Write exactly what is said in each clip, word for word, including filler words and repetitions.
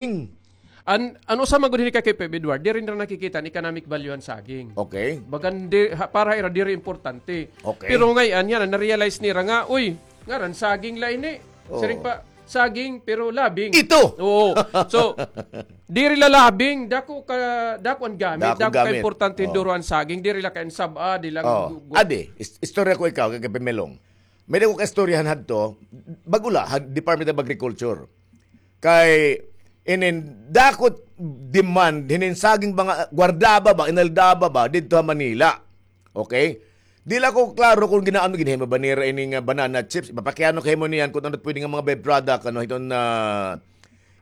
An, an usa man gud hini ka K five Edward, diri nira nakikita an economic value han saging. Okay. Bagan di, ha, para ha ira diri importante. Okay. Pero ngay-an yana, na-realize nira nga, uy, ngaran saging la ini. Oo. Siring pa, saging pero labing. Ito! Oo. So, diri la labing, dako ka, dako an gamit, dako ka importante hin duro an saging, diri la kay an sab-a, di la gu-, gu- Adi, is-, istorya ko ikaw, kay Pamilong. May-ada ko kaistoryahan hadto, bag-o la, ha Department of Agriculture. Kay inin dako it demand, hinin saging ba nga, guardaba ba, inaldaba ba, didto ha Manila. Okay? Di la ko klaro kon gin-aano, ginhimo ba nira ini nga banana chips, ipapakiana ko ha imo niyan kon ano it pwede nga mga byproduct, ano, hiton, ah,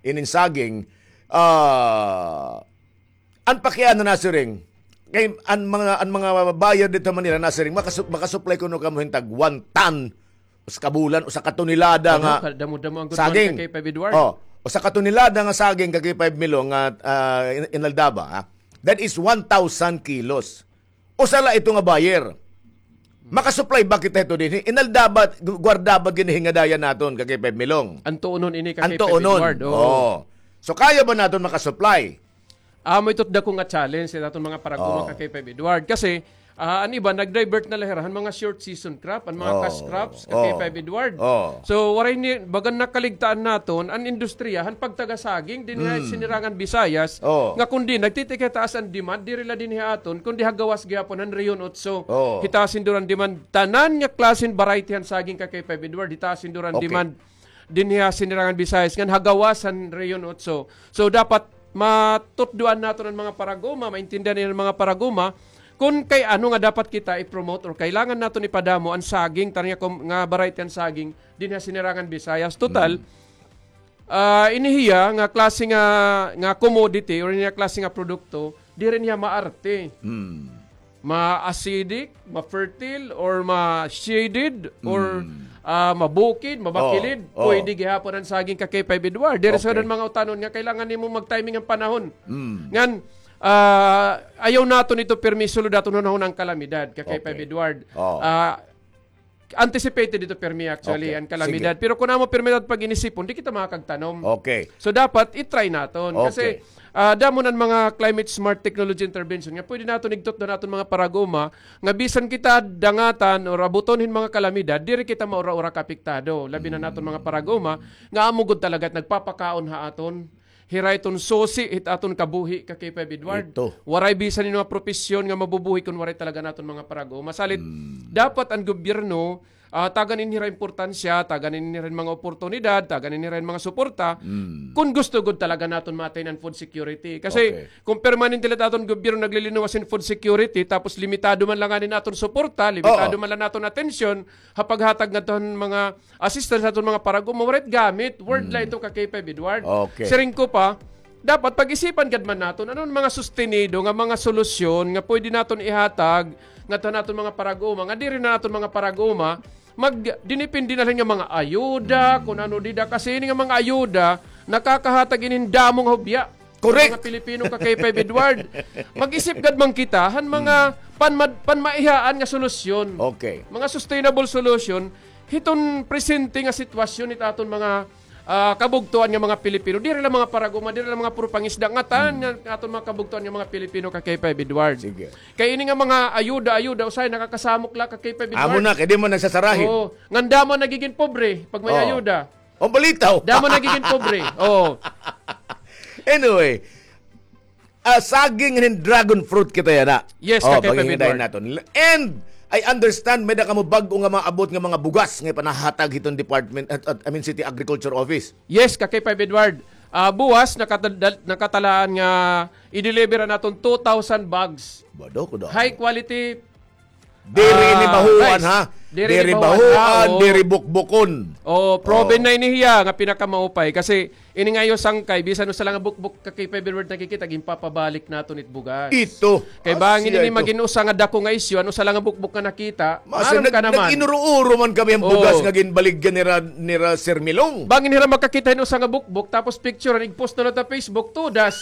inin saging, ah, An pakiana nasiring, kay an mga, an mga buyer didto ha Manila nasiring, makasu-, makasupply kuno kamo hin tag one ton, usa ka bulan, usa ka tonelada nga saging. Damo-damo an good man ka K five Edward. Oh, usa ka tonelada nga saging ka K five Milo nga, ah, in-, inaldaba, ha? That is one thousand kilos. Usa la ito nga buyer. Makasupply ba kita hito dinhi? Inaldaba, gu-, guardaba gud ini nga daya naton ka K five Milong. An tuonon ini ka K five Edward, oo. So, kaya ba naton makasupply? Amo ito it dako nga challenge sa aton mga parag-uma ka K five Edward. Kasi, ah, an iba, nag-divert na la hira han mga short season crop, an mga cash crops ka K five Edward. So, waray ni, bagan nakaligtaan naton an industriya han pagtagasaging dinhi ha Sinirangan Visayas, nga kundi nagtitikitaas an demand, diri la dinhi ha aton, kundi ha gawas gihapon han Rehiyon Otso. Hitaas hin duro an demand, tanan nga klase hin variety han saging ka K five Edward, hitaas hin duro an demand dinhi ha Sinirangan Visayas, ngan ha gawas han Rehiyon Otso. So, dapat matutdoan naton an mga parag-uma, maintindihan an mga parag-uma, kun kay ano nga dapat kita i-promote or kailangan naton ipadamo an saging, tanan nga kom-, nga variety han saging, dinhi ha Sinirangan Visayas. Total, ah, ini hiya nga klase nga, nga commodity or ini hiya klase nga produkto, diri niya maarte. Ma-acidic, ma-fertile, or ma-shaded, or, ah, mabukid, mabakilid, pwede gihapon an saging ka K five Edward. Diri sa mga utanon nga kailangan nimo mag-timing an panahon. Ngan, ah, ayaw naton ito pirmi suludaton hunahuna an kalamidad ka K five Edward. Ah, anticipated ito pirmi actually, an kalamidad. Pero kun amo pirmi naton pag-inisipon, di kita makakagtanom. Okay. So, dapat i-try naton. Kasi, ah, damo na an mga climate smart technology intervention nga pwede naton igtutdo han aton mga parag-uma nga bisan kita dangatan or abuton hin mga kalamidad, diri kita maura-ura kaapektado. Labi na an aton mga parag-uma nga amo gud talaga it nagpapakaon ha aton. Hira iton susi hit aton kabuhi ka K five Edward. Waray bisan hin mga propesyon nga mabubuhi kun waray talaga an aton mga parag-uma. Salit, dapat an gobyerno, ah, tagan ini hira importansya, tagan ini hira mga oportunidad, tagan ini hira mga suporta, kun gusto gud talaga naton ma-attain an food security. Kasi kun permanente la it aton gobyerno naglilinuwas hin food security, tapos limitado man la ngani an aton suporta, limitado man la an aton atensyon, ha paghatag ngadto han mga assistance ha aton mga parag-uma, waray it gamit. Word la ito ka K five Edward. Siring ko pa, dapat pag-isipan gad man naton, ano an mga sustenido nga mga solusyon nga pwede naton ihatag ngadto han aton mga parag-uma, nga diri na aton mga parag-uma magdinipindi na la hin nga mga ayuda, kun ano dida, kasi ini nga mga ayuda, nakakahatag ini hin damo nga hubya. Correct. Mga Pilipino ka K five Edward. Mag-isip gad man kita han mga panmad-, panmaihaan nga solusyon. Okay. Mga sustainable solution, hiton presente nga sitwasyon hit aton mga, ah, kabugtoan nga mga Pilipino. Diri la mga parag-uma, diri la mga puro pangisda, ngatanan nga aton mga kabugtoan nga mga Pilipino ka K five Edward. Sige. Kay ini nga mga ayuda-ayuda, usahay nakakasamok la ka K five Edward. Amo na, kay di man nagsasarahin. Oo. Ngan damo nagigin pobre pag may ayuda. Ang balitaw. Damo nagigin pobre. Oo. Anyway, ah, saging hin dragon fruit kita yana. Yes, ka K five Edward. And I understand, may-ada kamo bag-o nga maabot nga mga bugas nga ipanahatag hiton department, at, at, I mean, City Agriculture Office. Yes, ka K five Edward. Ah, buwas, nakatadal-, nakatalaan nga i-deliver an aton two thousand bags. High quality Diri ini bahuan, ha? Diri bahuan, diri bukbukon. Oo, proven na ini hiya nga pinakamaupay. Kasi ini nga iyo sangkay, bisan usa la nga bukbok ka K five Edward nakikita, ginpapabalik naton it bugas. Ito. Kay bangin ini magin usa nga dako nga isyu, an usa la nga bukbok nga nakita, maaram ka naman. Nag-inuro-uro man kami an bugas nga ginbaligya nira, nira Sir Milong. Bangin hira makakita hin usa nga bukbok, tapos picture, igpost na la ha Facebook, tudas.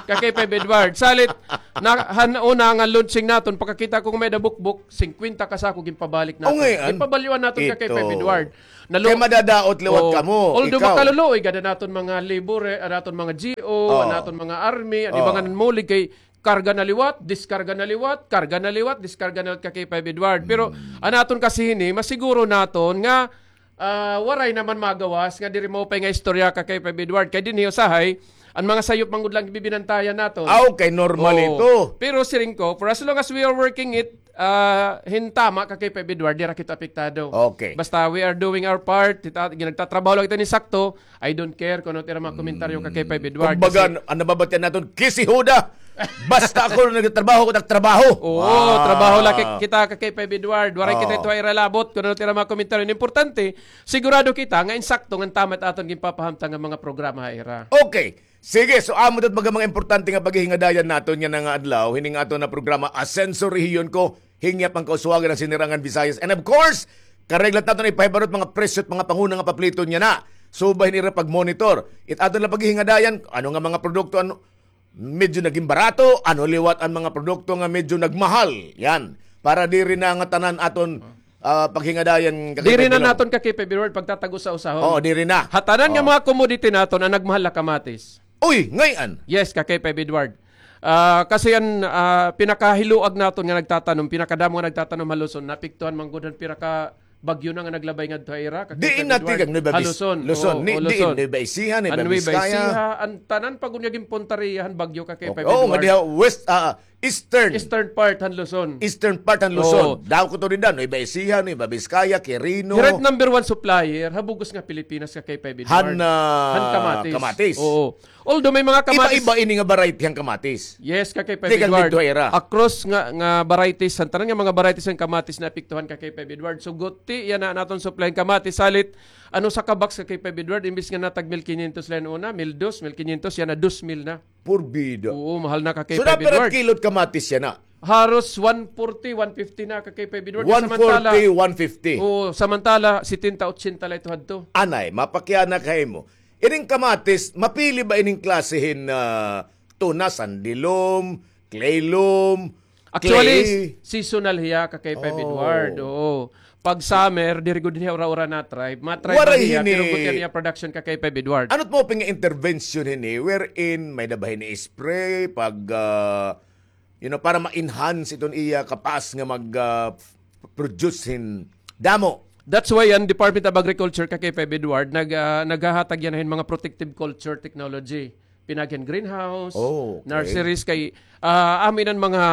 Ka K five Edward. Salit, na, han una nga launching naton, pakakita ko nga may-ada bukbok, singkwenta ka sako ginpabalik naton. Ngayon, ipabalyuan naton ka kay Five Edward. Kay madadaot liwat kamo. Although makaluluoy gad an aton mga labor, eh, an aton mga G O, an aton mga army, an iba nga nanmulig kay karga na liwat, diskarga na liwat, karga na liwat, diskarga na liwat ka kay Five Edward. Pero an aton kasi hini, masiguro naton nga, ah, waray naman magawas nga diri maupay nga istorya ka kay Five Edward. Kay dinhi usahay, an mga sayop man gud lang bibinantayan naton. Ah, okay, normal ito. Pero siring ko, for as long as we are working it, ah, hin tama ka kay Five Edward, dira kita apektado. Okay. Basta we are doing our part, kita, nagtatrabaho lang kita ni sakto, I don't care kung ano ira mga komentaryo ka kay Five Edward. Kumbaga, an nababatian naton, kisihuda! Basta ako nagtatrabaho, ako nagtrabaho. Oo, trabaho la kita ka kay Five Edward. Waray kita ito ira labot kung ano ira mga komentaryo. An importante, sigurado kita nga insakto nga tama it aton ginpapahamtang nga mga programa ha ira. Okay. Sige, so amo ito mga, mga importante nga paghihingadayan naton yana nga adlaw, hini nga aton nga programa, Asenso Rehiyon Ko, hingyap an kauswagan han Sinirangan Visayas. And of course, kareglat naton ipahibaro it mga presyo it mga panguna nga paplito niyan na. Subay nira pag-monitor. It aton la paghihingadayan, ano nga mga produkto, ano, medyo naging barato, ano liwat an mga produkto nga medyo nagmahal. Yan. Para diri na nga tanan aton, ah, paghingadayan ka kay Five Edward. Diri na naton ka kay Five Edward pagtatago sa usahon. Oo, diri na. Ha tanan nga mga commodity naton, an nagmahal la kamatis. Uy, ngay-an? Yes, ka kay Five Edward. Ah, kasi an, ah, pinakahiluag naton nga nagtatanom, pinakadamo nga nagtatanom ha Luzon, naapektuhan man gud han pira ka bagyo na nga naglabay ngadto ha ira, ka kay Five Edward. Diin na tikang Nueva Ecija? Ha Luzon. Luzon. Oo, ni, diin, Luzon. Nueva Ecija, Nueva Vizcaya. An Nueva Ecija, an tanan pa gud nga ginpuntaria han bagyo ka kay Five Edward. Oo, nga diha west, ah, eastern. Eastern part han Luzon. Eastern part han Luzon. Oo. Dako to rin dan, Nueva Ecija, Nueva Vizcaya, Quirino. Hira it number one supplier ha bug-os nga Pilipinas ka kay Five Edward. Han, ah, han kamatis. Kamatis. Oo. Although may mga kamatis. Iba-iba ini nga variety han kamatis. Yes, ka kay Five Edward. Across nga, nga varieties, han tanan nga mga varieties han kamatis naapektuhan ka kay Five Edward. So, guti yana an aton supply han kamatis. Salit, an usa ka box ka kay Five Edward, imbis nga natag mil quinientos la hin una, mil dos, mil quinientos, yana dos mil na. Porbida. Oo, mahal na ka kay Five Edward. So, napira kilo it kamatis yana? Haros one forty, one fifty na ka kay Five Edward. One forty, one fifty. Oo, samantala, setenta, ochenta la ito hadto. Anay, mapakiana ka himo. Ining kamatis, mapili ba ining klase hin, ah, tuna, sandy loam, clay loam, clay? Actually, seasonal hiya ka kay Five Edward. Oo. Pag summer, diri gud hiya ura-ura na-thrive. Ma-thrive hiya, pero gutian hiya production ka kay Five Edward. Ano it maupay nga intervention hini wherein may-ada ba hini spray pag, ah, you know, para ma-enhance iton iya kapas nga mag, ah, produce hin damo. That's why an Department of Agriculture ka kay Five Edward nag, ah, naghahatag yana hin mga protective culture technology. Pinaagi han greenhouse, nurseries kay, ah, amo ini an mga,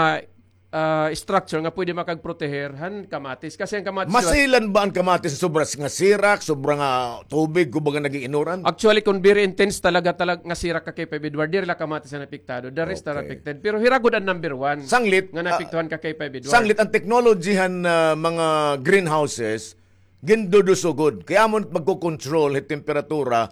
ah, structure nga pwede makagproteher han kamatis. Kasi an kamatis, masilan ba an kamatis sobra nga sirak, sobra nga tubig, kumbaga nag-iinuran? Actually, kung very intense talaga, talaga nga sirak ka kay Five Edward, diri la kamatis an apektado. The rest are affected. Pero hira gud an number one nga naapektuhan ka kay Five Edward. Sanglit, an technology han, ah, mga greenhouses, ginduduso gud. Kay amo magko-control hin temperatura,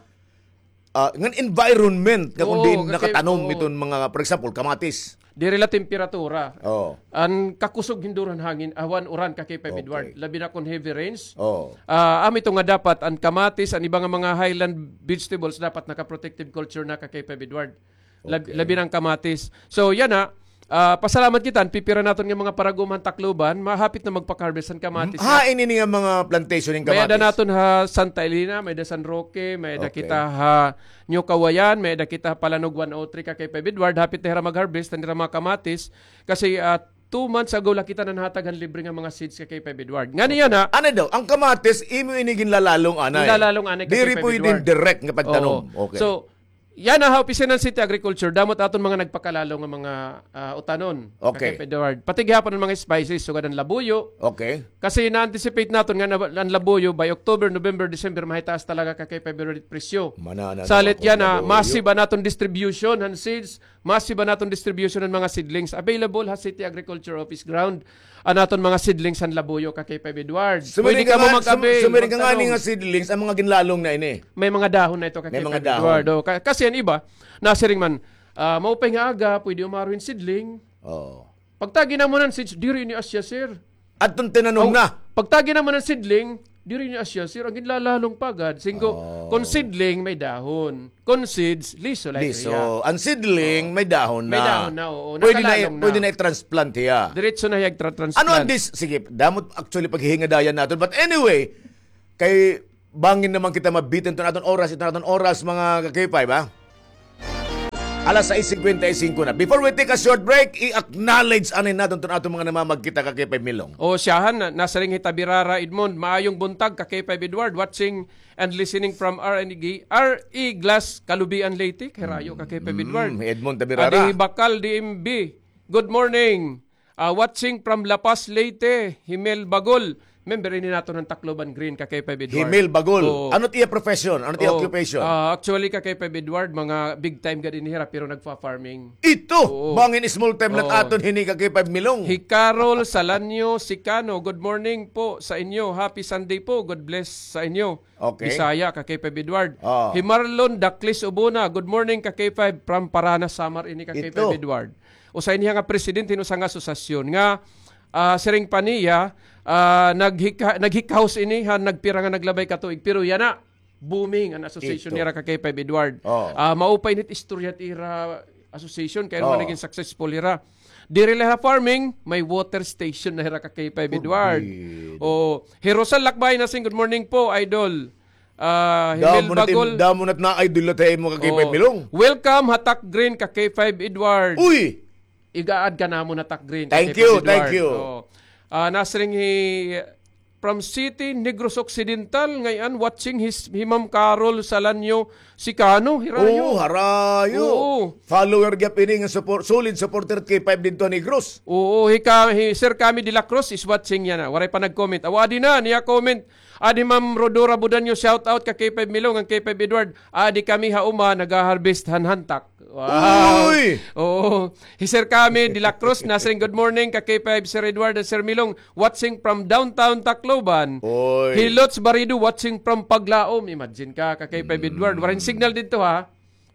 ah, ngan environment nga kung diin nakatanom iton mga, for example, kamatis. Diri la temperatura. Oo. An kakusog hin duro han hangin, awan uran ka kay Five Edward. Labi na kung heavy rains. Oo. Ah, amo ito nga dapat an kamatis, an iba nga mga highland vegetables dapat naka-protective culture na ka kay Five Edward. Lab-, labi na an kamatis. So, yana, ah, pasalamat kita, an pipira naton nga mga parag-uma han Tacloban, mahapit na magpaka-harvest han kamatis. Ha, ini nga mga plantation hin kamatis. May-ada naton ha Santa Elena, may-ada San Roque, may-ada kita ha New Kawayan, may-ada kita ha Palanog one oh three ka kay Five Edward, hapit na hira mag-harvest han ira mga kamatis. Kasi, ah, two months ago la kita nanhatag han libre nga mga seeds ka kay Five Edward. Ngani yana. Ano daw, an kamatis, imo ini ginlalalong anay. Ginlalalong anay ka kay Five Edward. Diri pwedeng direct nga pagtanom. Oo. Okay. So, yana ha opisina han City Agriculture, damo it aton mga nagpakalalang nga mga, ah, utanon. Okay. Ka kay Five Edward. Pati gihapon an mga spices, sugad an labuyo. Okay. Kasi na-anticipate naton nga na, an labuyo by October, November, December, mahitaas talaga ka kay Five Edward presyo. Salit yana, massive an aton distribution han seeds, massive an aton distribution han mga seedlings. Available ha City Agriculture Office ground an aton mga seedlings han labuyo ka kay Five Edward. Pwede kamo mag-avail, magtanom. Sumiring ka ngani nga seedlings, an mga ginlalong na ini. May mga dahon na ito ka kay Five Edward. May mga dahon. O, ka-, kasi an iba, nasiring man, ah, maupay nga aga, pwede umaro hin seedling. Oo. Pagtagi namon han seeds, diri ini asya, sir. Adton tinanom na. Pagtagi namon han seedling, Diri ni asya, sir, an ginlalalong pa gad. Singko, oh, kon seedling, may dahon. Kon seeds, liso la. Liso. An seedling, oh, may dahon na. May dahon na, oo. Pwede na, nakalalong na, pwede na i-transplant hiya. Diretso na hiya tra-, transplant. Ano an dis-, sige, damo it actually paghihingadayan naton. But anyway, kay bangin naman kita mabitin iton aton oras, iton aton oras, mga ka-K five, ha? Alas sais singkwenta y singko na. Before we take a short break, i-acknowledge anay naton iton aton mga namamagkita, ka-K five Milong. O, siyahan, na, nasiring hi Tabirara Edmond, maayong buntag, ka-K five Edward, watching and listening from R N G, R E Glass, Kalubian, Leyte, kay rayo, ka-K five Edward. Mm, Edmond Tabirara. Adi Bakal, D M B, good morning. Ah, watching from La Paz, Leyte, Himel Bagol. Member ini naton han Tacloban Green, ka-K five Edward. Himel Bagol. Oo. Ano it iya profession? Ano it iya occupation? Ah, actually, ka-K five Edward, mga big time gad ini hira, pero nagfa-farming. Ito, oo, bangin small time la it aton hini, ka-K five Milong. Hi Carol Salanyo Sicano, good morning po sa inyo. Happy Sunday po. God bless sa inyo. Okay. Bisaya, ka-K five Edward. Oh. Hi Marlon Daklis Ubona, good morning, ka-K five, from Paranas, Samar ini, ka-K five Edward. Usa ini nga president hin usa nga asosasyon nga, ah, siring pa niya, ah, naghika-, naghikahos ini han nagpira nga naglabay ka tuig. Pero yana, booming an association nira, ka-K five Edward. Oh. Ah, maupay ini it istorya it ira association, kay ano naging successful hira. Diri la ha farming, may water station na hira, ka-K five Edward. Oh, hi Rosal Lakbay Nasing, good morning po, idol. Ah, Himel Bagol. Damo na it na idol na tayo mo, ka-K five Milong. Welcome ha Tac Green, ka-K five Edward. Uy! Iga-add ka namon ha Tac Green, ka-K five Edward. Thank you, thank you. Oo. Ah, nasiring hi from City, Negros Occidental, ngay-an, watching his, hi Ma'am Carol Salanyo Sicano, hirayo. Oo, harayo. Oo. Follower gihap ini nga support, solid supporter K five didto ha Negros. Oo, hi ka-, hi Sir Kami de la Cruz is watching yana. Waray pa nag-comment. Aw, adi na, niya comment. Adi Ma'am Rodora Budanyo, shout out ka K five Milong, an K five Edward. Adi kami ha uma, nagaharvest han hantak. Wow. Uy! Oo. Hi Sir Kami de la Cruz, nasiring, good morning ka K five, Sir Edward and Sir Milong, watching from downtown Tacloban. Uy. Hi Lots Barido, watching from Paglaom. Imagine ka, ka K five Edward. Waray signal didto, ha?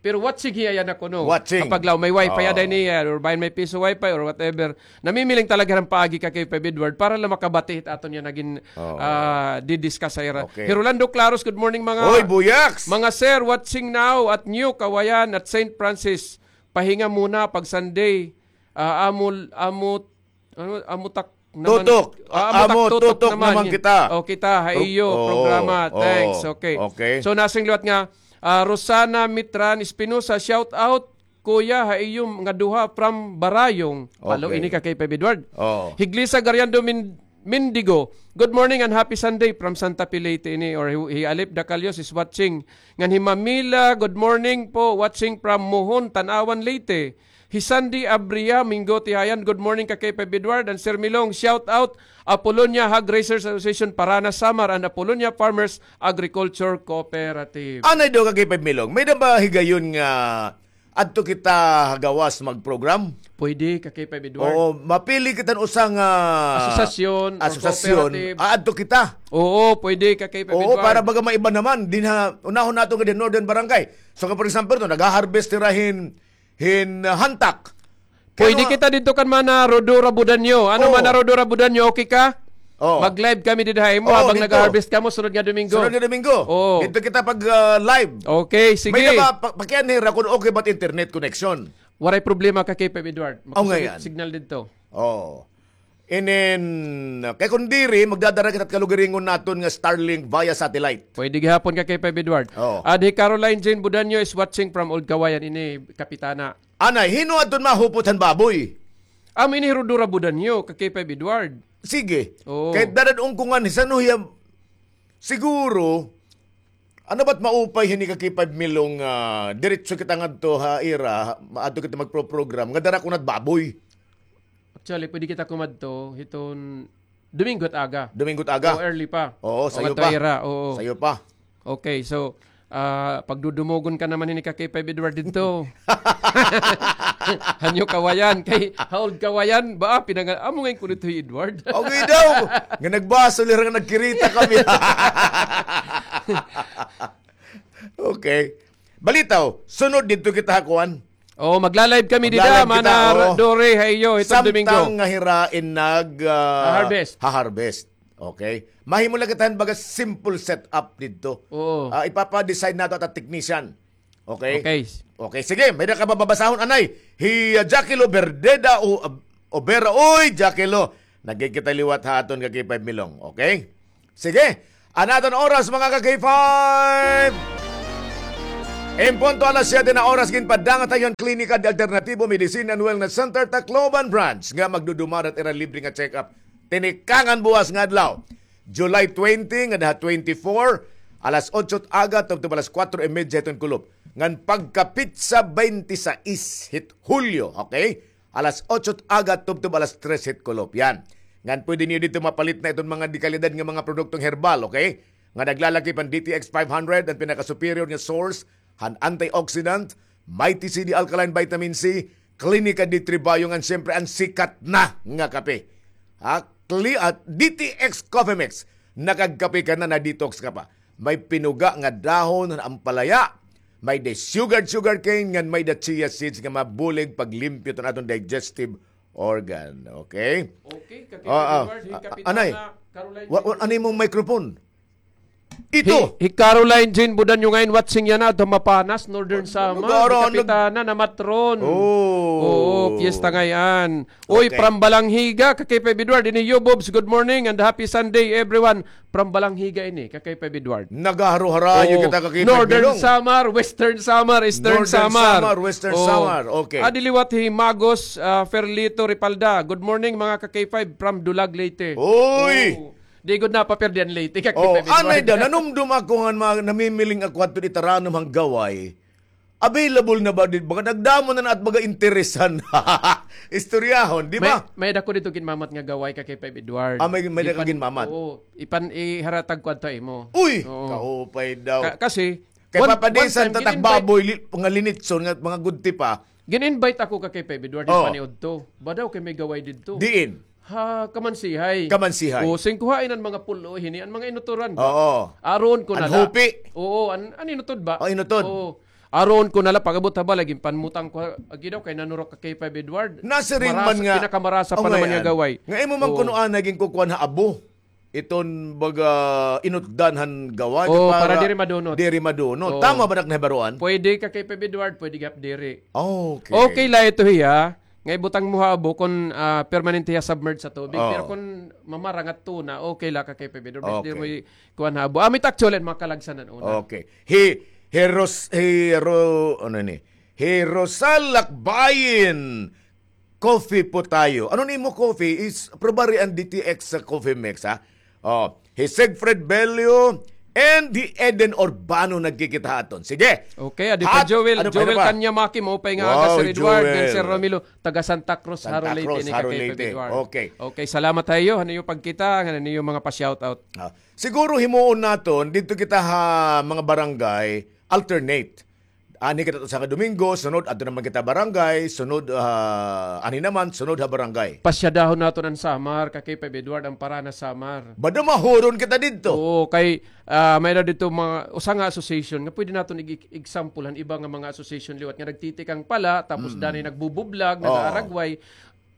Pero watching hiya yana kuno. Watching. Kapag law may wifi, aday niya, or bahin may piso wifi, or whatever. Namimiling talaga han paagi ka K five Edward para la makabati hit aton yana nga gin-, ah, didiscuss ha ira. Okay. Hi Rolando Claros, good morning, mga, oy, Buyaks! Mga sir, watching now at New Kawayan at Saint Francis. Pahinga muna pag Sunday. Ah, amo, amo, ano, amo tak naman. Tutok. Ah, amo tak tutok naman kita. O, kita, ha iyo programa. Thanks. Okay. So, nasiring liwat nga, ah, Rosana Mitran Espinosa, shout out, Kuya, ha iyo nga duha from Barayong. Palo ini ka K five Edward. Oo. Hi Glisa Gariando Min-, Mindigo, good morning and happy Sunday from Santa Fe, Leyte ini, or hi, hi Alip Dacalios is watching. Ngan hi Mamila, good morning po, watching from Mohon, Tanauan, Leyte. Hi Sandy Abria, Mingo Tihayan, good morning ka K five Edward and Sir Milong, shout out Apolonia Hog Raisers Association, Paranas, Samar, and Apolonia Farmers Agriculture Cooperative. Anay daw ka K five Milong, may-ada ba higayon nga adto kita ha gawas mag-program? Pwede, ka K five Edward. Oo, mapili kita hin usa nga asosasyon or cooperative. Asosasyon. Ah, adto kita. Oo, pwede, ka K five Edward. Oo, para baga maiba naman. Dinha, unahon naton nga dinha Northern Barangay. So, for example, to, nag-harvest hira hin, hin, ah, hantak. Pwede kita didto kan Mana Rodora Budanyo. Ano, Mana Rodora Budanyo, okay ka? Oo. Mag-live kami didto ha imo habang nag-harvest kamo sunod nga Domingo. Sunod nga Domingo. Oo. Didto kita pag, ah, live. Okay, sige. May-ada ba, pa-, pakianhi ra kon okay ba it internet connection. Waray problema ka K five Edward. Makusog it signal didto. Oo. Inin, kay kon diri, magdadara kita hit kalugaringon naton nga Starlink via satellite. Pwede gihapon ka K five Edward. Oo. Adi Caroline Jane Budanyo is watching from Old Kawayan ini, Kapitana. Anay, hin-o adton mahupot han baboy? Amo ini hi Rodora Budanyo, ka K five Edward. Sige. Oo. Kay dadad-on ko ngan, san-o hiya, siguro, ano ba it maupay hini ka K five Milong, ah, diretso kita ngadto ha ira, adto kita magpro-program, nga dara ko na it baboy. Actually, pwede kita kumadto hiton Domingo it aga. Domingo it aga. O, early pa. Oo, sayo pa. Sayo pa. Okay, so, ah, pagdudumogon ka naman hini ka K five Edward didto. Ha New Kawayan, kay ha Old Kawayan, ba, pinangal-, amo ngay-an kuno ito hi Edward. Okay daw. Nga nagbasol, nga nagkirita kami. Okay. Balitaw, sunod didto kita ha kuan. Oo, magla-live kami dida, Mana Dore, ha iyo, hiton Domingo. Samtang nga hira in nag, ah, ha-harvest. Okay? Mahimo la kita hin baga simple setup didto. Oo. Ah, ipapa-design nato ta technician. Okay? Okay. Okay, sige, may-ada ka ba babasahon, anay? Hi, ah, Jackie Lo Berdeda o, ah, Obera. Uy, Jackie Lo, nagkikita liwat ha aton ka K five Milong. Okay? Sige, an aton oras, mga ka K five. In punto alas siyete na oras, ginpadangat ha iyo an Klinika de Alternatibo Medicine and Wellness Center, Tacloban Branch, nga magdudumara ha ira libre nga check-up. Tinikangan buwas nga adlaw, July twenty ngada ha twenty-four, alas otso it aga tubtob alas kuwatro y medya hiton kulop. Ngan pagkapitsa twenty-six hit Hulyo, okay? Alas otso it aga tubtob alas tres hit kulop. Yan. Ngan pwede niyo didto mapalit na iton mga dekalidad nga mga produktong herbal, okay? Nga naglalakip an D T X five hundred, an pinaka-superior nga source han antioxidant, Mighty C D Alkaline Vitamin C, Klinika de Tribayo, ngan siyempre an sikat na nga kape. Ha? Kli-, at D T X Coffee Mix. Nakagkape ka na, na-detox ka pa. May pinuga nga dahon han ampalaya. May-ada sugar, sugar cane, ngan may-ada chia seeds nga mabulig paglimpyo han aton digestive organ. Okay? Okay, Kaki Edward, hi Kapitana Caroline Jean. Wa-, wa-, ano imong microphone? Ito. Hi, hi Caroline Jean Budanyo ngay-an, watching yana, adto ha Mapanas, Northern Samar. Hi Kapitana, namatron. Oo, piyesta ngay-an. Uy, from Balangiga, ka K five Edward, ini Yubobs, good morning and happy Sunday, everyone. From Balangiga ini, ka K five Edward. Nagaharo-harayo kita, ka K five Milong. Northern Samar, Western Samar, Eastern Samar. Northern Samar, Western Samar. Okay. Adi liwat hi Magos, ah, Ferlito Ripalda. Good morning, mga ka K five, from Dulag, Leyte. Uy! Di gud napapirdi an Leyte, ka K five Edward. Anay da, nanumdom ako nga ma-, namimiling ako adto dida ha taranom han gaway. Available na ba dida? Baga nagdamo na na it baga interesan. Istoryahon, di ba? May, may-ada ko didto ginmamat nga gaway, ka K five Edward. Ah, may, may-ada ka ginmamat? Oo, ipan-, iharatag ko adto ha imo. Uy! Oo. Kaupay daw. Ka-, kasi, kay Papa Dins, an tatak baboy, li-, nga linitson, nga mga gudti pa. Gin-invite ako, ka K five Edward, ipaniudto. Ba daw kay may gaway didto. Diin? Ha, Kamansihay. Kamansihay. O, singkuhain an mga pulo hini, an mga inutoran ba? Oo. Aron ko na la. An hupi. Oo, an, an inutod ba? O, inutod. Oo. Aron ko na la, pag-abot ha balay, ginpanmutang ko, agi daw, kay nanurok, ka K five Edward. Nasiring man nga, pinakamarasa pa naman nga gaway. Nga imo man kuno anay ginkukuan ha abo. Iton baga inutdan han gaway. O, para diri madunot. Diri madunot. Tama ba nak nahibaroan? Pwede, ka K five Edward, pwede gihap diri. Okay. Okay la ito hiya. Nga ibutang mo ha abo kon, ah, permanente hiya submerged sa tubig. Oo. Pero kon mamarang at tuna, okay la, ka K five Edward. Basta diri mo i-, kuan ha abo. Amo it actually an mga kalagsanan una. Okay. Hi, hi Ros-, hi Ro-, ano ni? Hi Rosal Lakbayin Coffee po tayo. Ano nimo coffee? Is probably an D T X sa coffee mix, ha? Oh, hi Siegfried Bello and hi Eden Urbano nagkikita ha aton. Sige. Okay, adi pa Joel, Joel Kanyamaki, maupay nga aga, Sir Edward, ngan Sir Romilo, taga Santa Cruz, Jaro, Leyte, ini ka K five Edward. Okay. Okay, salamat ha iyo han iyo pagkita, ngan han iyo mga pa-shoutout. Ah, siguro himuon naton, didto kita ha mga barangay, alternate. Anhi kita usa ka Domingo, sunod adto naman kita barangay, sunod, ah, anhi naman, sunod ha barangay. Pasyadahon naton an Samar, ka K five Edward, an Paranas Samar. Bada mahuron kita didto. Oo, kay, ah, may-ada didto mga, usa nga association nga pwede naton ig-, example han iba nga mga association liwat nga nagtitikang pala, tapos danay nagbubublag, nag-aaragway.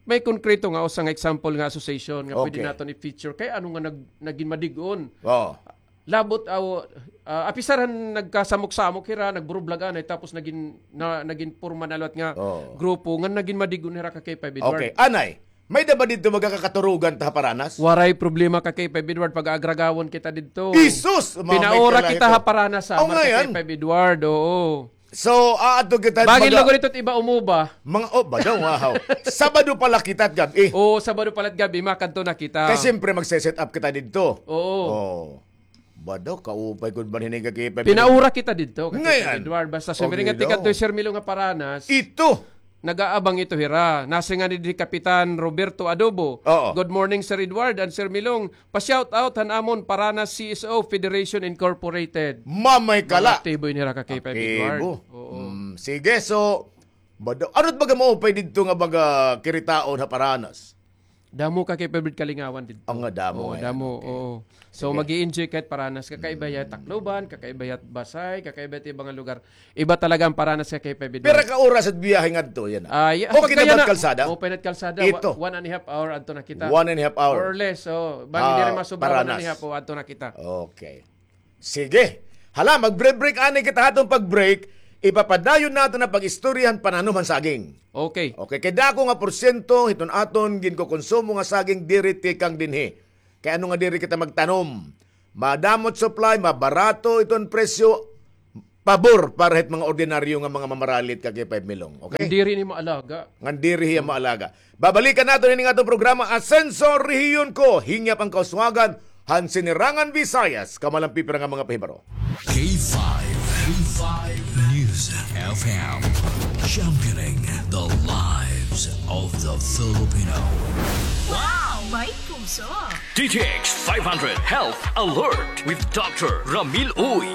May konkreto nga usa nga example nga association nga pwede naton i-feature. Kay ano nga nag-, nagin madig-on? Oo. Labot, aw, ah, apisar han nagkasamok-samok hira, nagburublag anay, tapos nagin, na, nagin porma na liwat nga grupo, nga nagin madig-on hira, ka K five Edward. Okay, anay. May-ada ba didto baga kakaturugan ta ha Paranas? Waray problema, ka K five Edward, pag-aagragawon kita didto. Jesus! Pinaura kita ha Paranas, Samar, ka K five Edward, oo. So, aadto kita. Bangin lugar ito it iba umuba. Mga, oh, badaw, wow. Sabado pala kita it gab-i. Oo, Sabado pala it gab-i, makadto na kita. Kay siyempre, magse-set up kita didto. Oo. Oh. Badaw, kaupay ko man hini, ka K five. Pinaura kita didto, ka K five Edward. Basta sumiring nga tikadto hi Sir Milong ha Paranas. Ito. Nag-aabang ito hira. Nasiring ngani didi hi Kapitan Roberto Adobo. Oo. Good morning, Sir Edward and Sir Milong. Pa-shout out han amon Paranas C S O Federation Incorporated. Mamay kala. Mga aktibo ini hira, ka K five Edward. Oo. Mm, sige, so, bada-, ano it baga maupay didto nga baga kiritaon ha Paranas? Damo ka K five hundred kalingawan didto. Ang nga damo. Oo, eh, damo, okay. Oo. So, mag-i-enjoy ka hit Paranas. Kakaiba hiya Tacloban, kakaiba hiya Basey, kakaiba hiya iba nga lugar. Iba talaga ang Paranas ka K five hundred. Pira ka oras it biyahe ngadto, yana? Ah, yeah. Okay na ba it kalsada? Open it kalsada. Ito. Wa-, one and a half hour adto na kita. One and a half hour. More or less. So, bangin diri masubra one and a half, o, adto na kita. Okay. Sige. Hala, mag-break-break anay kita. Aton pag-break, ipapadayon naton an pag-istorya han pananom han saging. Okay. Okay, kay dako nga porsyento hiton aton ginkokonsumo nga saging diri tikang dinhi. Kay ano nga diri kita magtanom? Madamo it supply, mabarato iton presyo, pabor para hit mga ordinaryo nga mga mamaralit ka K five Milong. Okay? Ngan diri ni maalaga. Ngan diri hiya maalaga. Babalikan naton ini nga aton programa, Asenso Rehiyon Ko, hingyap an kauswagan han Sinirangan Visayas, kamalampi pira nga mga pahibaro. K five, K five News F M, championing the lives of the Filipino. Wow! May puso! D T X five hundred Health Alert with Doctor Ramil Uy.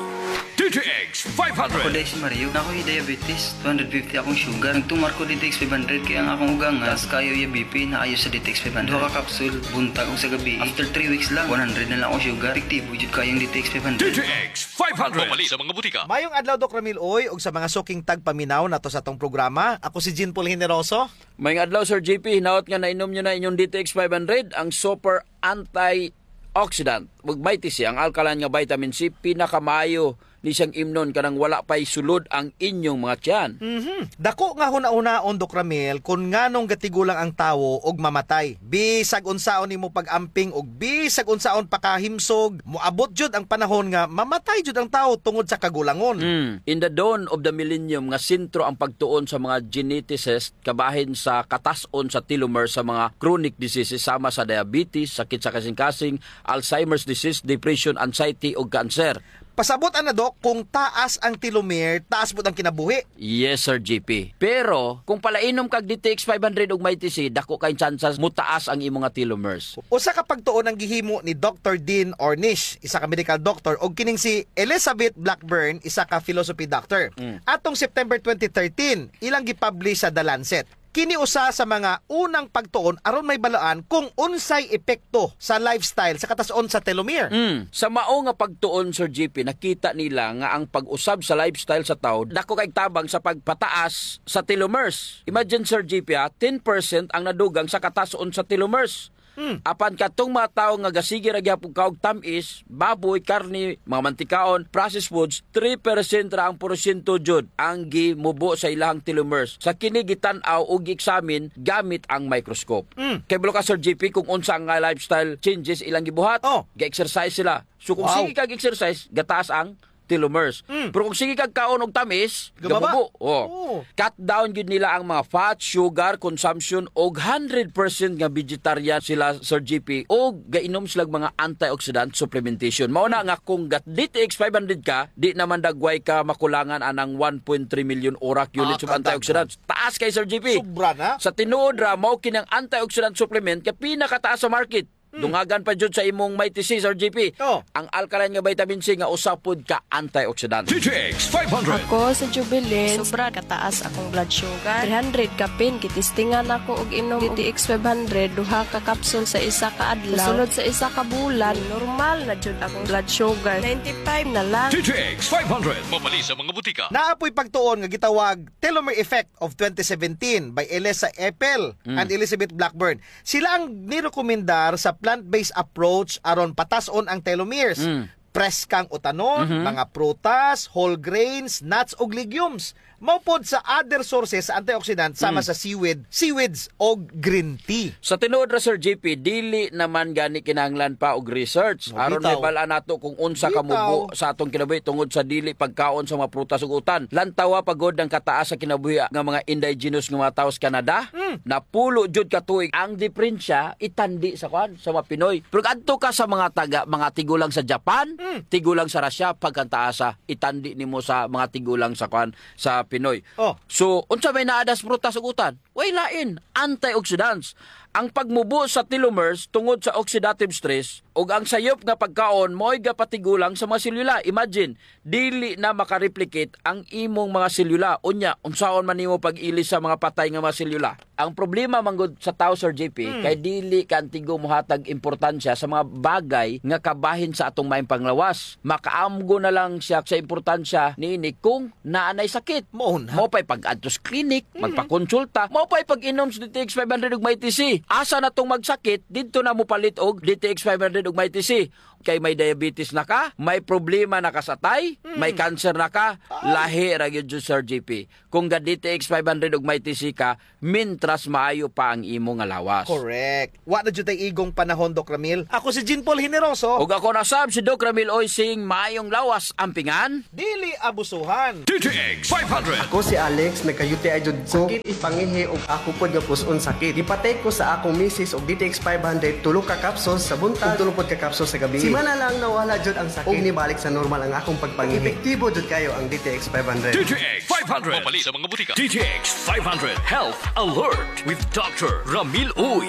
D T X five hundred. Ako day si Mario, naa koy diabetes, two hundred fifty akong sugar. Nagtumar ko D T X five hundred kay ang akong ugangan, taas kaayo iya B P, naayos sa D T X five hundred. Duha ka kapsul, buntag ug sa gabii. After three weeks lang, one hundred na lang akong sugar. Epektibo jud kaayo ang D T X five hundred. D T X five hundred. Mapalit sa mga butika. Mayong adlaw, Doc Ramil Uy, ug sa mga suking tagpaminaw nato sa atong programa. Ako si Jean Paul Generoso. Mayong adlaw, Sir J P. Hinaot nga nainom niyo na inyong D T X five hundred, ang super antioxidant. Ug Mighty C, ang alkaline nga vitamin C, pinakamaayo ni siyang imnon kanang wala pa'y sulod ang inyong mga tiyan. Mhm. Dako nga hunahunaon, Doc Ramil, kon nganong gatigulang ang tawo og mamatay. Bisag unsaon nimo pag-amping ug bisag unsaon pakahimsog, moabot jud ang panahon nga mamatay jud ang tawo tungod sa kagulangon. Mm. In the dawn of the millennium nga sentro ang pagtuon sa mga geneticist kabahin sa katas-on sa telomere sa mga chronic diseases sama sa diabetes, sakit sa kasingkasing, Alzheimer's disease, depression, anxiety, ug cancer. Pasabot ana, Doc, kung taas ang telomere, taas pud ang kinabuhi. Yes, Sir J P. Pero, kung palainom kag D T X five hundred ug Mighty C, dako kay tsansas mutaas ang imo nga telomeres. Usa ka pagtuon ang gihimo ni Doctor Dean Ornish, isa ka medical doctor, ug kining si Elizabeth Blackburn, isa ka philosophy doctor. Mm. Atong September twenty thirteen, ilang gipublish sa The Lancet. Kini usa sa mga unang pagtuon aron mahibaluan kung unsay epekto sa lifestyle sa katas-on sa telomere. Mm. Sa mao nga pagtuon, Sir J P, nakita nila nga ang pag-usab sa lifestyle sa tawo dako kay tabang sa pagpataas sa telomeres. Imagine, Sir J P, ha, ten percent ang nadugang sa katas-on sa telomeres. Hmm. Apan kadtong mga tawo nga gasige ra gihapon kaon og tam-is, baboy, karne, mga mantikaon, processed foods, three percent ra ang porsyento jud ang gimubo sa ilahang telomeres sa kini gitan-aw o gi-examine gamit ang microscope. Hmm. Kay kabalo ka, Sir J P, kung unsa nga lifestyle changes ilang gibuhat, oh, ga-exercise sila. So kung, wow, sige kag exercise, gataas ang telomeres. Mm. Pero kung sige kag kaon og tamis, gababa. Gababo. Oh. Oo. Cut down gyud nila ang mga fat, sugar consumption, og hundred percent nga vegetarian sila, Sir J P, og gainom sila mga antioxidant supplementation. Mao na, mm, nga kung ga-, D T X five hundred ka, di naman dagway ka makulangan anang one point three million orak units of antioxidants. Ah, kadaghan. Taas kay, Sir J P. Sobra na. Sa tinuod ra, mao kini ang antioxidant supplement nga pinakataas sa market. Hmm. Dungagan pa jud sa imong Mighty C, Sir J P. Oh. Ang alkaline nga vitamin C nga usa pod ka antioxidant. D T X five hundred. Ako si Jubilin. Sobra kataas akong blood sugar. Three hundred kapin, gitistingan ako og inom D T X five hundred, duha ka kapsul sa isa ka adlaw. Sulod sa isa ka bulan, normal na jud akong blood sugar. Ninety-five na lang. D T X five hundred. Mapalit sa mga butika. Naa poy pagtuon nga gitawag telomere effect of twenty seventeen by Elisa Epel, mm, and Elizabeth Blackburn. Sila ang nirekomendar sa plant-based approach aron patas-on ang telomeres. Mm. Preskang utanon, mhm, mga prutas, whole grains, nuts, ug legumes. Mao pod sa other sources sa antioxidant sama, mm, sa seaweed, seaweeds, og green tea. Sa tinuod ra, Sir J P, dili naman gani kinahanglan pa og research. Oh, aron bitaw. Mahibal-an nato kung unsa, bitaw, kamubo sa atong kinabuhi tungod sa dili pagkaon sa mga prutas ug utan. Lantawa pa gud ang kataas sa kinabuhi nga mga indigenous nga mga tawo sa Canada. Mm. Napulo jud ka tuig. Ang diperensya, itandi sa kuan, sa mga Pinoy. Pero adto ka sa mga taga, mga tigulang sa Japan, mm, tigulang sa Russia, pagkantaasa, itandi nimo sa mga tigulang sa kuan, sa Pinoy. Oh. So, unsa may naa das prutas ug utan? Way lain, antioxidants. Ang pagmubo sa telomeres tungod sa oxidative stress ug ang sayop nga pagkaon mao'y gapatigulang sa mga selula. Imagine, dili na makareplicate ang imong mga selula. Unya, unsaon man nimo pag-ilis sa mga patay nga mga selula? Ang problema man gud sa tawo, Sir J P, kay dili ka antigo mohatag importansya sa mga bagay nga kabahin sa atong maayong panglawas. Makaamgo na lang siya sa importansya niini kung naa nay sakit. Mao na. Mao pa'y pag-adto sa klinik, magpakonsulta. Mao pa'y pag-inom sa D T X five hundred ug Mighty C. Asa na tong magsakit, didto na mopalit og D T X five hundred ug Mighty C. Kay may diabetes na ka, may problema na ka sa atay, may cancer na ka, lahi ra gyud, Sir J P. Kung ga-D T X five hundred ug Mighty C ka, mintras maayo pa ang imo nga lawas. Correct. Wa na jud tay igong panahon, Doc Ramil. Ako si Jean Paul Generoso. Ug ako na sab si Doc Ramil Oy Sing, maayong lawas, ampingan. Dili abusuhan. D T X five hundred. Ako si Alex, nagka-U T I jud ko. Sakit ipangihi ug ako pod nga pus-on sakit. Gipa-take ko sa akong misis og D T X five hundred, tulo ka capsules sa buntag ug tulo pod ka capsules sa gabii. Simana lang nawala jud ang sakit ug nibalik sa normal ang akong pagpangihi. Epektibo jud kayo ang D T X five hundred. D T X five hundred. Mapalit sa mga butika. D T X five hundred Health Alert with Doctor Ramil Uy.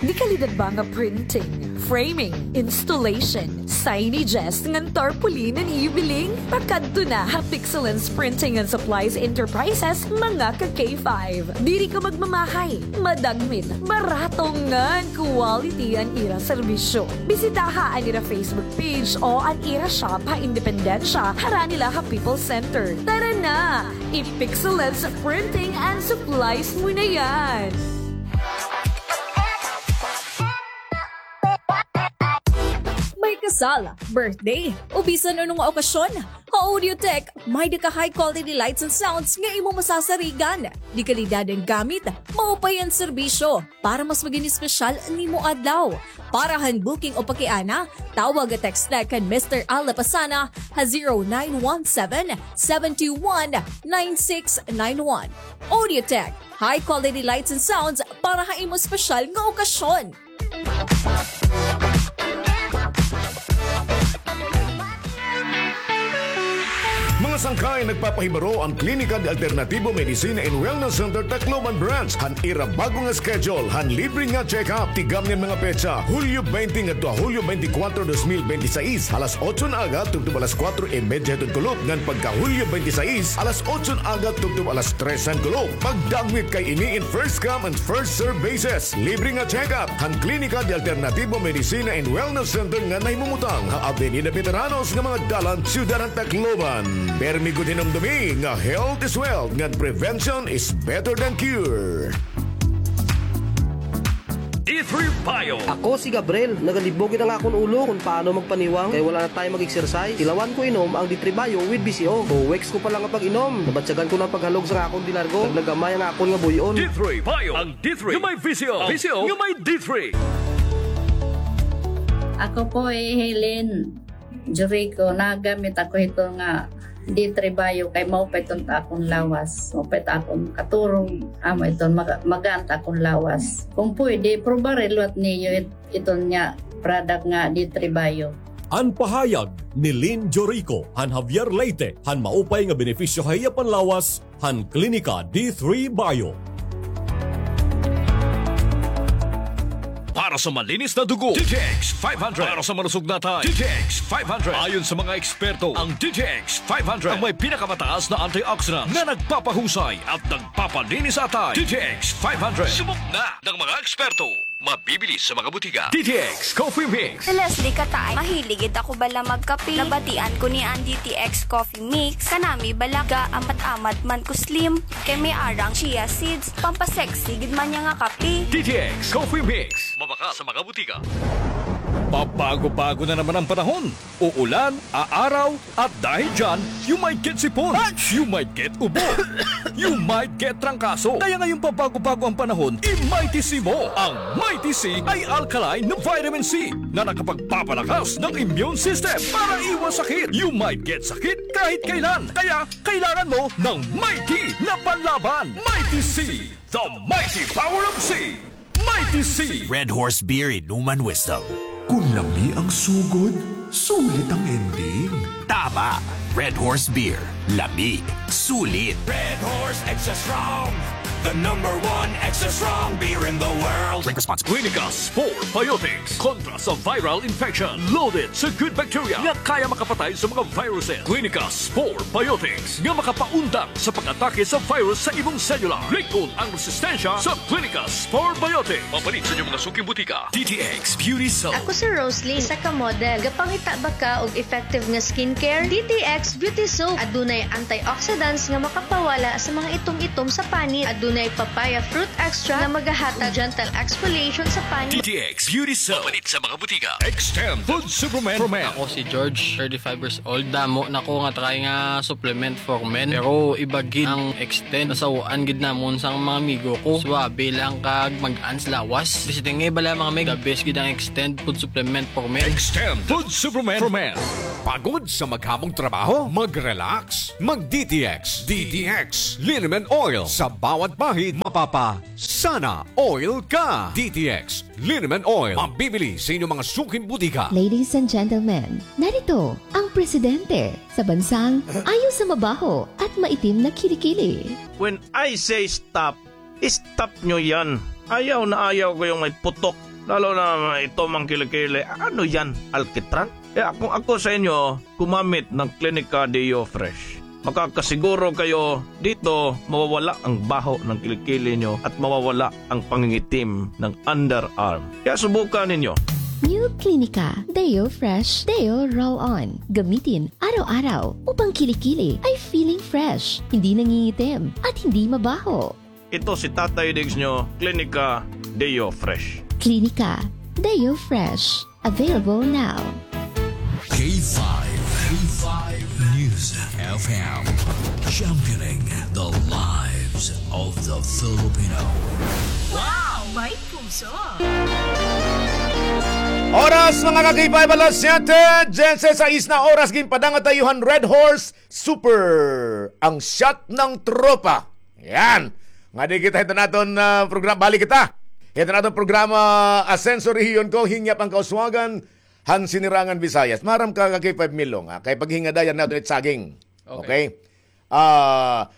Dekalidad ba nga printing, framing, installation, signages ngan tarpaulin an iyo biling? Pakadto na ha Pixelens Printing and Supplies Enterprises, mga ka K five. Diri ka magmamahay, madagmit, barato ngan quality an ira serbisyo. Bisitaha an ira Facebook page o an ira shop ha Independencia, harani la ha People's Center. Tara na! I-Pixelens Printing and Supplies mo na yan! May kasal, birthday, o bisan ano nga okasyon, ha Audiotech, may-ada ka high quality lights and sounds nga imo masasarigan. Dekalidad an gamit, maupay an serbisyo. Para mas maging espesyal an imo adlaw. Para han booking o pakiana, tawag o text na kan Mister Al Lapasana ha zero nine one seven, seven two one, nine six nine one. Audiotech, high quality lights and sounds para ha imo espesyal nga okasyon. Mga sangkay, nagpapahibaro an Klinika de Alternativo Medicina and Wellness Center Tacloban Branch han ira bag-o nga schedule han libre nga check-up. Tigam niyan mga petsa, Hulyo twenty ngadto ha Hulyo twenty-four, dos mil bente seis, alas otso han aga tubtob alas kuwatro y medya hiton kulop, ngan pagka Hulyo twenty-six, alas otso han aga tubtob alas tres han kulop. Pagdagmit kay ini in first come and first serve basis. Libre nga check-up han Klinika de Alternativo Medicina and Wellness Center nga nahimumutang ha Avenida Veteranos nga mga dalan, Syudad han Tacloban. Permi gud hinumdumi nga health is wealth ngan prevention is better than cure. D three Bio. Ako si Gabriel. Nagalibog gid an akon ulo kon paano magpaniwang kay wala na time mag-exercise. Tilawan ko inom ang D three Bio with V C O. Two weeks ko pa lang nga pag-inom, nabatyagan ko na an paghalog sa akon dilargo. Naglagamay an akon nga buy-on. D three Bio. Ang D three nga may V C O. V C O nga may D three. Ako po hi Helen Jericho. Nagamit ako hito nga D three Bio kay maupay iton ha akon lawas. Maupay it akon katurog. Amo iton maga-, magaan it akon lawas. Kung pwede, prubaha liwat niyo it-, iton nga product nga D three Bio. An pahayag ni Lynn Jorico han Javier Leyte han maupay nga benepisyo ha iya panlawas han Klinika D three Bio. Para sa malinis na dugo, D T X five hundred. Para sa malusog na atay, D T X five hundred. Ayon sa mga eksperto, ang D T X five hundred ang may pinakamataas na antioxidants na nagpapahusay at nagpapalinis sa atay. D T X five hundred. Subok na ng mga eksperto. Mabibili sa mga butika. D T X Coffee Mix. Si Leslie Katay. Mahilig gid ako bala magkape. Nabatian ko ni an D T X Coffee Mix. Kanami bala ga-amat-amat man ko slim. Kay may ara nga chia seeds. Pampasexy gid man niya nga kape. D T X Coffee Mix. Mabakal sa mga butika. Pabago-bago na naman ang panahon. Uulan, aaraw, at dahil dyan, you might get sipon, you might get ubo, you might get trangkaso. Kaya ngayong pabago-bago ang panahon, i-Mighty C mo. Ang Mighty C ay alkaline na vitamin C na nakapagpapalakas ng immune system para iwas sakit. You might get sakit kahit kailan. Kaya kailangan mo ng Mighty na panlaban. Mighty C, the mighty power of C. Mighty C. Red Horse Beer, inuman wisdom. Kun lami ang sugod, sulit ang ending. Tama. Red Horse Beer. Lami. Sulit. Red Horse Extra Strong, the number one The strong beer in the world. Drink responsibly. Clinica Spore Biotics. Kontra sa viral infection. Loaded sa good bacteria nga kaya makapatay sa mga viruses. Clinica Spore Biotics nga makapaundang sa pag-atake sa virus sa imong selula. Lig-on ang resistensya sa Clinica Spore Biotics. Mapalit sa inyong mga suking butika. D T X Beauty Soap. Ako si Rosely, isa ka model. Gapangita ba ka og effective nga skincare? D T X Beauty Soap. Adunay antioxidants nga makapawala sa mga itom-itom sa panit. Adunay papaya fruit extract nga magahatag gentle exfoliation sa panit. D T X Beauty Soap. Mapalit sa mga butika. Extend Food Supplement for Men. Ako si George, thirty-five years old. Damo na ko nga try nga supplement for men. Pero iba gid ang Extend. Nasaw-an gid namon sang mga amigo ko. Suabe lang kag mag-ans lawas. Bisita nga bala mga meg. The best gid ang Extend Food Supplement for Men. Extend Food Supplement for Men. Pagod sa maghamong trabaho? Mag-relax. Mag-D T X. D T X Liniment Oil. Sa bawat bahid, mapapa-sana oil ka. D T X Liniment Oil. Mabibili sa inyong mga suking butika. Ladies and gentlemen, narito ang presidente sa bansang ayaw sa mabaho at maitim na kilikili. When I say stop, stop nyo yan. Ayaw na ayaw ko yung may putok. Lalo na may itom ang kilikili. Ano yan? Alkitran? Kaya kung ako sa inyo, gumamit ng Clinica Deo Fresh. Makakasiguro kayo dito mawawala ang baho ng kilikili nyo at mawawala ang pangingitim ng underarm. Kaya subukan ninyo. New Clinica Deo Fresh Deo Roll-On. Gamitin araw-araw upang kilikili ay feeling fresh, hindi nangingitim, at hindi mabaho. Ito si Tatay Diggs nyo, Clinica Deo Fresh. Clinica Deo Fresh. Available now. K five, K five News F M, championing the lives of the Filipino. Wow! May puso! Oras, mga ka-K five, alas siyete, diyesisais na oras, ginpadangat tayo han Red Horse Super, ang shot ng tropa. Yan. Ngadi kita hito naton, ah, program-, balik kita. Hito naton programa, Asenso Rehiyon Ko, hingyap an kauswagan han Sinirangan Visayas. Maaram ka, ka-K five Milong, ha? Kay paghingadayan naton it saging. Okay. Okay? Ah,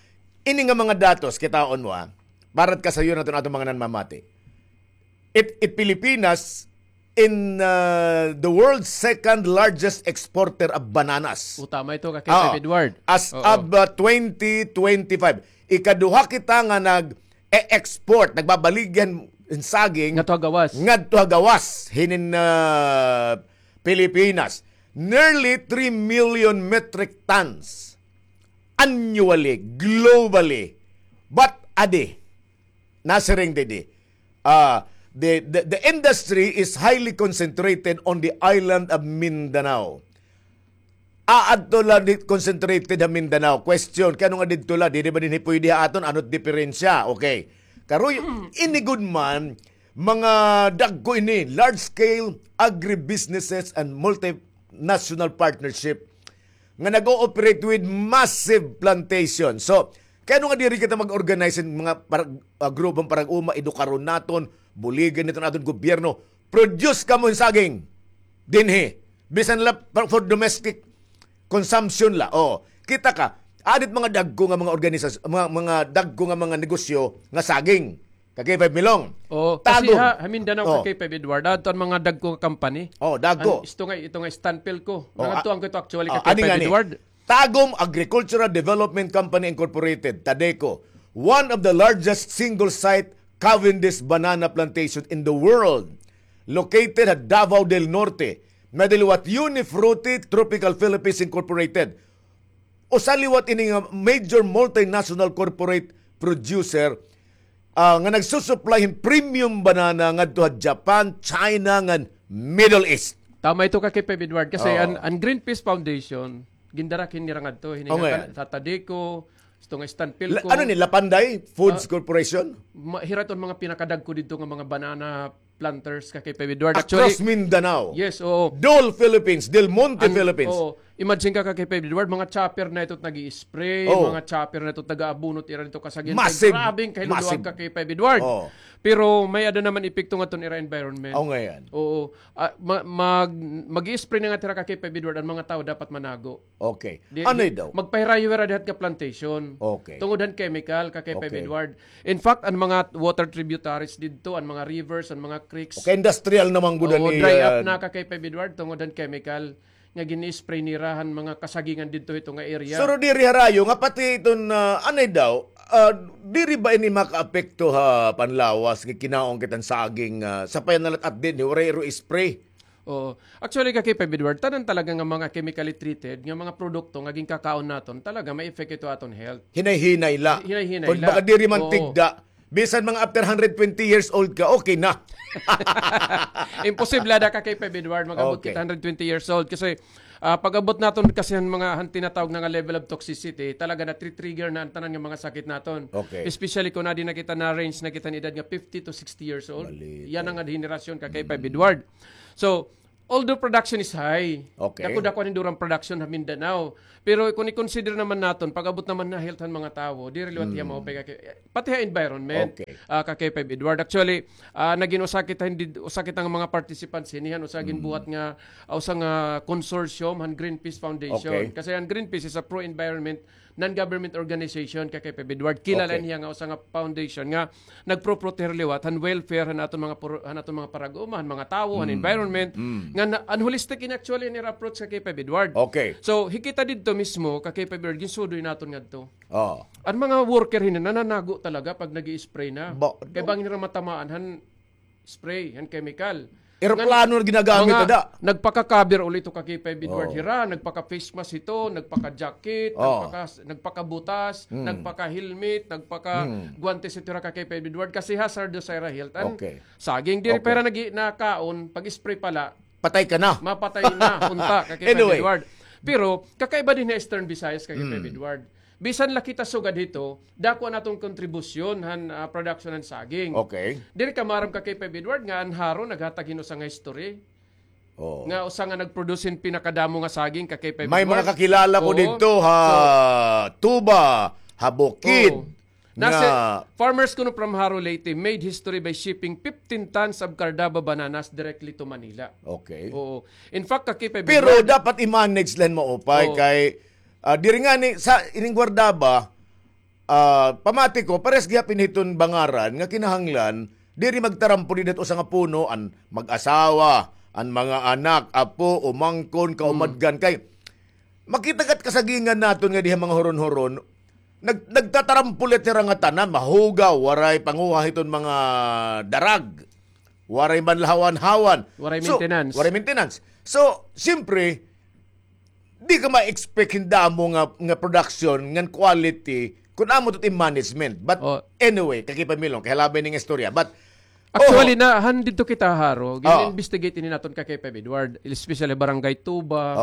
ini nga mga datos, kitaon mo, ha? Para it kasayon naton, aton mga nanmamati. It, it Pilipinas in, uh, the world's second largest exporter of bananas. O, tama ito, ka-K five Edward. As of, uh, twenty twenty-five, ikaduha kita nga nag-e-export, nagbabaligya hin saging ngadto ha gawas. Ngadto ha gawas hinin, uh, Pilipinas. Nearly three million metric tons annually, globally. But adi, nasiring didi. Ah, the, the, the industry is highly concentrated on the island of Mindanao. Ah, adto la di concentrated ha Mindanao. Question, kay ano nga didto la? Didi ba dinhi pwede ha aton? Ano it diperensya? Okay. Karoy, ini gud man, mga dagko ini, large scale agribusinesses and multinational partnership nga nag-ooperate with massive plantation. So, kay ano nga diri kita mag-organize hin mga parag-, ah, grupong parag-uma, edukaron naton, buligan naton aton gobyerno, produce kamo hin saging dinhi. Bisan la pa-, for domestic consumption la. O, kita ka, adit mga dagko nga mga organisas-, mga, mga dagko nga mga negosyo nga saging. Ka-K five Milong. O, kasi ha, ha Mindanao, ka-K five Edward, adto an mga dagko nga company. O, dagko. An, isto nga, ito nga Stanpilco. O, ngadto an ito actually, ka-K five Edward. Tagum Agricultural Development Company Incorporated, Tadeco, one of the largest single-site Cavendish banana plantation in the world, located at Davao del Norte, nga diliwat Unifruti Tropical Philippines Incorporated. Usa liwat ini nga major multinational corporate producer, ah, nga nagsusupply hin premium banana ngadto ha Japan, China, ngan Middle East. Tama ito, ka-K five Edward, kasi an, an Greenpeace Foundation, gindarak hini nira ngadto, hini nga Tadeco, ito nga Stanpilco. Ano ni, Lapanday Foods Corporation? Hira iton mga pinakadagko didto nga mga banana planters, ka-K five Edward. Actually, across Mindanao. Yes, oo. Dole Philippines, Del Monte Philippines. Oo. Imagine ka, ka-K five Edward, mga chopper na ito nag-i-spray, mga chopper na ito nag-aabunot ira didto ka saging. Massive. Grabe an kahiluluag, ka-K five Edward. Oo. Pero may-ada naman epekto ngadto han ira environment. Aw, ngay-an. Oo. Ah, ma-, mag-, mag-i-spray na ngadto hira ka K five Edward, an mga tawo dapat manago. Okay. Di, ano di, daw? Magpahirayo hira dihat nga plantation. Okay. Tungod han chemical ka K five Edward. Okay. In fact, an mga water tributaries didto, an mga rivers, an mga creeks. Okay, industrial naman gud. Oo, ni, dry up ah, na ka K five Edward, tungod han chemical nga gin-spray nira han mga kasagingan didto hito nga area. Pero diri harayo nga pati iton, ah, anay daw, ah, diri ba ini makaapekto ha panlawas nga kinaon kita han saging, ah, sa payanalat at dinhi, waray iro spray? Oo. Actually, ka K five Edward, tanan talaga nga mga chemically treated nga mga produkto nga ginkakaon naton, talaga may effect ito aton health. Hinay-hinay la. Hinay-hinay la. Kung baga diri man tigda, bisan mga after hundred twenty years old ka, okay na. Imposible ada ka K five Edward, mag-abot kita hundred twenty years old. Kasi, ah, pag-abot naton kasi han mga han tinatawag na nga level of toxicity, talaga na-trigger na an tanan nga mga sakit naton. Okay. Especially kung adi na kita na range na kita han edad nga fifty to sixty years old. Yan ang henerasyon ka K five Edward. So, although production is high, okay, dako-dako an hinduran production ha Mindanao. Pero kung i-consider naman naton, pag-abot naman ha health han mga tawo, diri liwat hiya maupay ka K-, pati ha environment, okay, ah, ka K five Edward. Actually, ah, nagin usa kita, hindi, usa kita nga mga participants hini han usa ginbuhat nga, ah, usa nga consortium han Greenpeace Foundation. Okay. Kasi an Greenpeace is a pro-environment non-government organization, ka K five Edward. Kilala niya nga usa nga foundation nga nagproproteher liwat han welfare han aton mga puro-, han aton mga parag-uma, han mga tawo, han environment. Nga na, an holistic in actually an ira approach ka K five Edward. Okay. So, hikita didto mismo ka K five Edward, ginsudoy naton ngadto. Oh. An mga worker hini nananago talaga pag nag-i-spray na. Kay bangin nira matamaan han spray, han chemical. Eroplano na ginagamit, mga ada. Nagpaka-cover uli ito ka K five Edward hira, nagpaka-face mask ito, nagpaka-jacket, nagpaka-, nagpakabutas, nagpaka-helmet, nagpaka-guantes ito hira ka K five Edward. Kasi hazardous sa ira health. An saging, diri pa hira nagi-, nakaon, pag-spray pala, patay ka na. Mapatay na, unta, ka K five Edward. Pero, kakaiba dinhi ha Eastern Visayas, ka K five Edward. Bisan la kita sugad hito, dako an aton kontribusyon han, ah, production han saging. Okay. Diri ka maaram ka K five Edward nga an Jaro naghatag hin usa nga history. Oo. Nga usa nga nag-produce hin pinakadamo nga saging ka K five Edward. May mga kakilala ko didto ha Tuba, ha Bukid. Oo. Nasa farmers kuno from Jaro, Leyte made history by shipping fifteen tons of Cardaba bananas directly to Manila. Okay. Oo. In fact, ka K five Edward. Pero dapat i-manage la hin maupay kay Ah, diri ngani sa ining Guardaba, ah, pamati ko, parehas gihapon hiton Bangaran nga kinahanglan diri magtarampol dida usa nga puno an mag-asawa, an mga anak, apo, umangkon, kaumadgan. Kay makita kat kasagingan naton nga diha mga huron-huron, nag-, nagtatarampol it ira nga tanan, mahugaw, waray panguha hiton mga darag. Waray man lahawan-hawan. Waray maintenance. So, waray maintenance. So, siyempre, di ka ma-expect hin damo nga, nga production, ngan quality, kun amo to it im management. But anyway, kakipamilong, kay halabay ning istorya. But, actually, na, han didto kita Jaro, gin-investigate ini naton ka K five Edward, especially Barangay Tuba,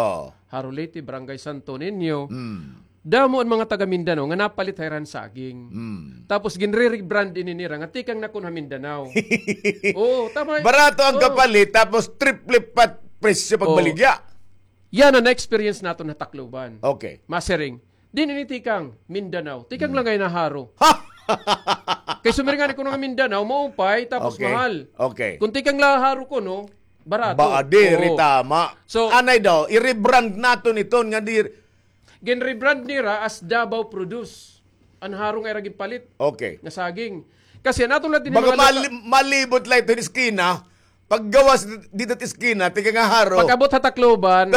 Jaro Leyte, Barangay Santo Niño. Damo an mga taga Mindanao nga napalit ha ira han saging. Tapos ginre-rebrand ini nira nga tikang na kuno ha Mindanao. Oo, tama. Barato ang kapalit, tapos triple pa presyo pagbaligya. Yana na-experience naton ha Tacloban. Okay. Masiring. Diin ini tikang? Mindanao. Tikang la ngay-an ha Jaro. Kay sumiring ngani kuno nga Mindanao, maupay, tapos mahal. Okay. Kun tikang la ha Jaro kuno, barato. Ba, diri tama. So, anay daw, i-rebrand naton iton nga diri, Gin-rebrand nira as Davao Produce. An Jaro nga ira ginpalit. Okay. Nga saging. Kasi an aton la dinhi mga lupa, malibot la ito hin eskina. Paggawas dida it eskina, tikang ha Jaro. Pag-abot ha Tacloban,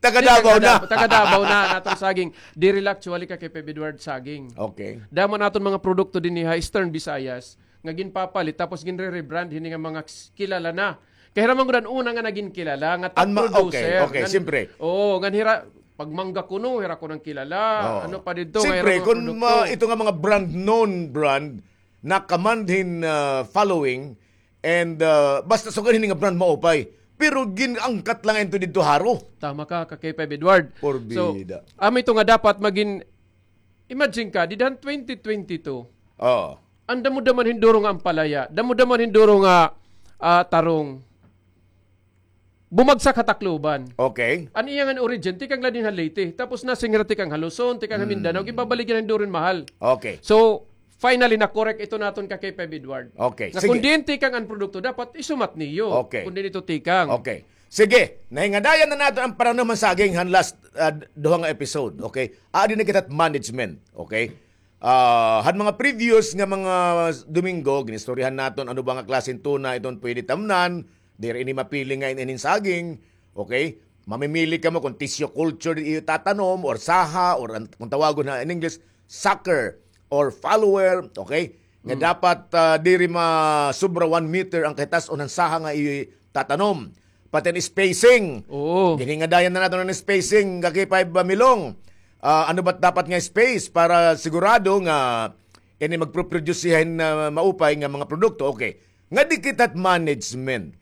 taga Davao na. Taga Davao na an aton saging. Diri la actually ka K five Edward saging. Okay. Damo an aton mga produkto dinhi ha Eastern Visayas nga ginpapalit tapos ginre-rebrand hini nga mga s-, kilala na. Kay hira man gud an una nga nagin kilala nga top producer. Okay, okay, siyempre. Oo, ngan hira, pag mangga kuno, hira kuno an kilala. Oo. Ano pa didto, siyempre, kun ito nga mga brand, known brand, na-command hin, ah, following, and, ah, basta sugad hini nga brand maupay. Pero gin-angkat la ngay-an ito didto ha Jaro. Tama ka, ka K five Edward. Porbida. So, amo ito nga dapat magin, imagine ka, dida han twenty twenty-two. Oo. An damo-damo hin duro nga ampalaya, damo-damo hin duro nga, ah, tarong. Bumagsak ha Tacloban. Okay. An iya nga origin, tikang la dinhi ha Leyte. Tapos nasiring hira tikang ha Luzon, tikang ha Mindanao, ginbabaligya na hin duro hin mahal. Okay. So, Finally, na-correct ito naton ka K five Edward. Okay, sige. Nga kun diin tikang an produkto, dapat isumat niyo. Okay. Kun diin ito tikang. Okay. Sige, nahingadayan na naton an pananum han saging han last, ah, duha nga episode. Okay? Adi na kita management. Okay? Ah, han mga previous nga mga Domingo, ginistoryahan naton ano ba nga klaseng tuna iton pwede tamnan, diri ini mapili nga in-, inin saging. Okay? Mamimili kamo kung tissue culture iyo tatanom or saha or an-, kung tawagon ha in English, sucker or follower, okay? Nga dapat, ah, diri masobra one meter an kahitas-on han saha nga iyo tatanom. Pati an spacing. Oo. Ginhingadayan na naton an spacing, ka K five Milong. Ah, ano ba't dapat nga space para sigurado nga ini magproproduce siya hin, ah, maupay nga mga produkto? Okay. Nga di kita management.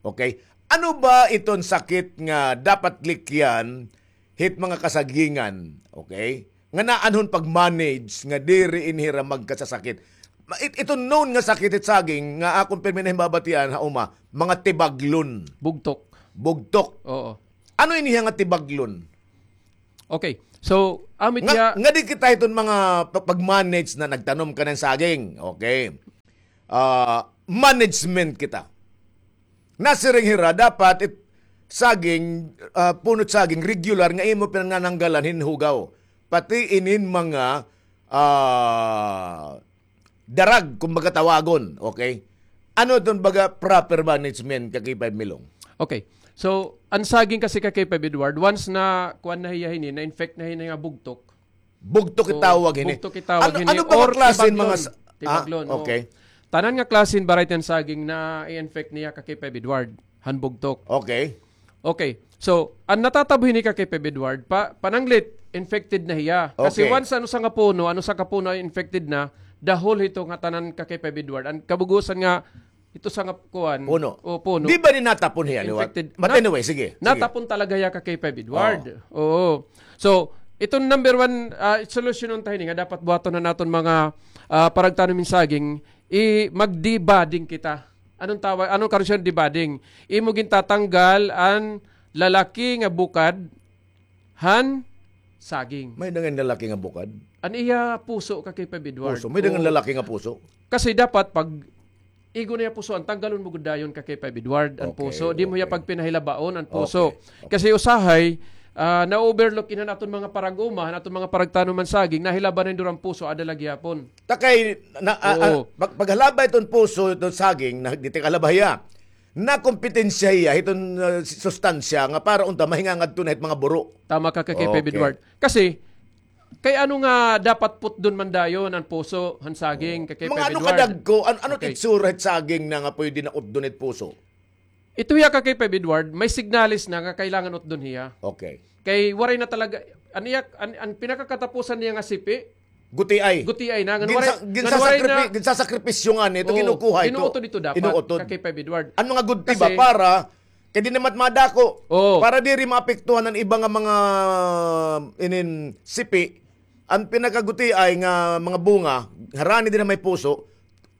Okay? Ano ba iton sakit nga dapat likyan hit mga kasagingan? Okay? Nga naanhon pag-manage nga diri in hira magkasasakit. Ma-, it-, iton known nga sakit hit saging nga akon pirmi na himbabatian ha uma, mga tibaglon. Bugtok. Bugtok. Oo. Ano ini nga tibaglon? Okay. So, amit nga, nga di kita iton mga pa-, pag-manage na nagtanom ka ng saging. Okay. Ah, management kita. Nasiring hira, dapat it-, saging, ah, punot saging, regular nga imo pinanananggalan hin hugaw. Pati inin mga, ah, darag, kumbaga tawagon, okay? Ano iton baga proper management, ka K five Milong? Okay. So, an saging kasi, ka K five Edward, once na kuan na hiya hini, na-infect na hini nga bugtok. Bugtok itawag hini. Bugtok itawag hini. Ano, ano ba or klase mga tibaglon, sa-, tibaglon, ah, okay. Tanan nga klase hin variety han saging na-infect niya, ka K five Edward, han bugtok. Okay. Okay. So, an natatabo hini, ka K five Edward, pa-, pananglit, infected na hiya. Kasi once an usa nga puno, an usa ka puno ay infected na, dahol hito nga tanan, ka K five Edward. An kabugusan nga, ito sa nga kuan. Puno. O, puno. Di ba ni natapon hiya, liwat? Infected. But anyway, sige, sige. Natapon talaga hiya, ka K five Edward. Oo. So, iton number one, ah, solusyon ta hini nga dapat buhaton han aton mga, ah, paragtanom hin saging, i-, mag-debudding kita. Anong tawag, anong karon debudding? Imo gintatanggal an lalaki nga bukad han saging. May dangan lalaki nga bukad? An iya puso, ka K five Edward. Puso. May dangan lalaki nga puso? Kasi dapat pag igo na iya puso, an tanggalon mo gud dayon, ka K five Edward, an puso. Di mo iya pagpinahilabaon an puso. Okay. Kasi usahay, ah, na-overlook ini han aton mga parag-uma, han aton mga paragtanom han saging, nahilaban na duran puso, ada la gihapon. Ta kay, na, ah, ah, pag-, paghalaba iton puso, iton saging, na, di ti kalaba hiya. Nakompetensya hiya hiton, ah, sustansya nga para unta mahingangadto na hit mga buro. Tama ka, ka K five Edward. Kasi, kay ano nga dapat putdon man dayon an puso han saging, ka K five Edward? Mga ano kadagko, an-, ano it itsura hit saging na nga pwede na utdon hit puso? Ito hiya, ka K five Edward, may signales na nga kailangan utdon hiya. Okay. Kay waray na talaga, an iya, an, an pinakakatapusan niya nga sipi, gutiay. Gutiay na, ngan waray, ngan waray na. Ginsasakripi-, ginsasakripisyo ngani ito, oo, ginukuha ito. Inuutod ito dapat, inuutod, ka K five Edward. An mga gudti ba, kasi para, kay di naman madako. Oo. Para diri maapektuhan an iba nga mga inin sipi, an pinakagutiay nga mga bunga, harani diri may puso,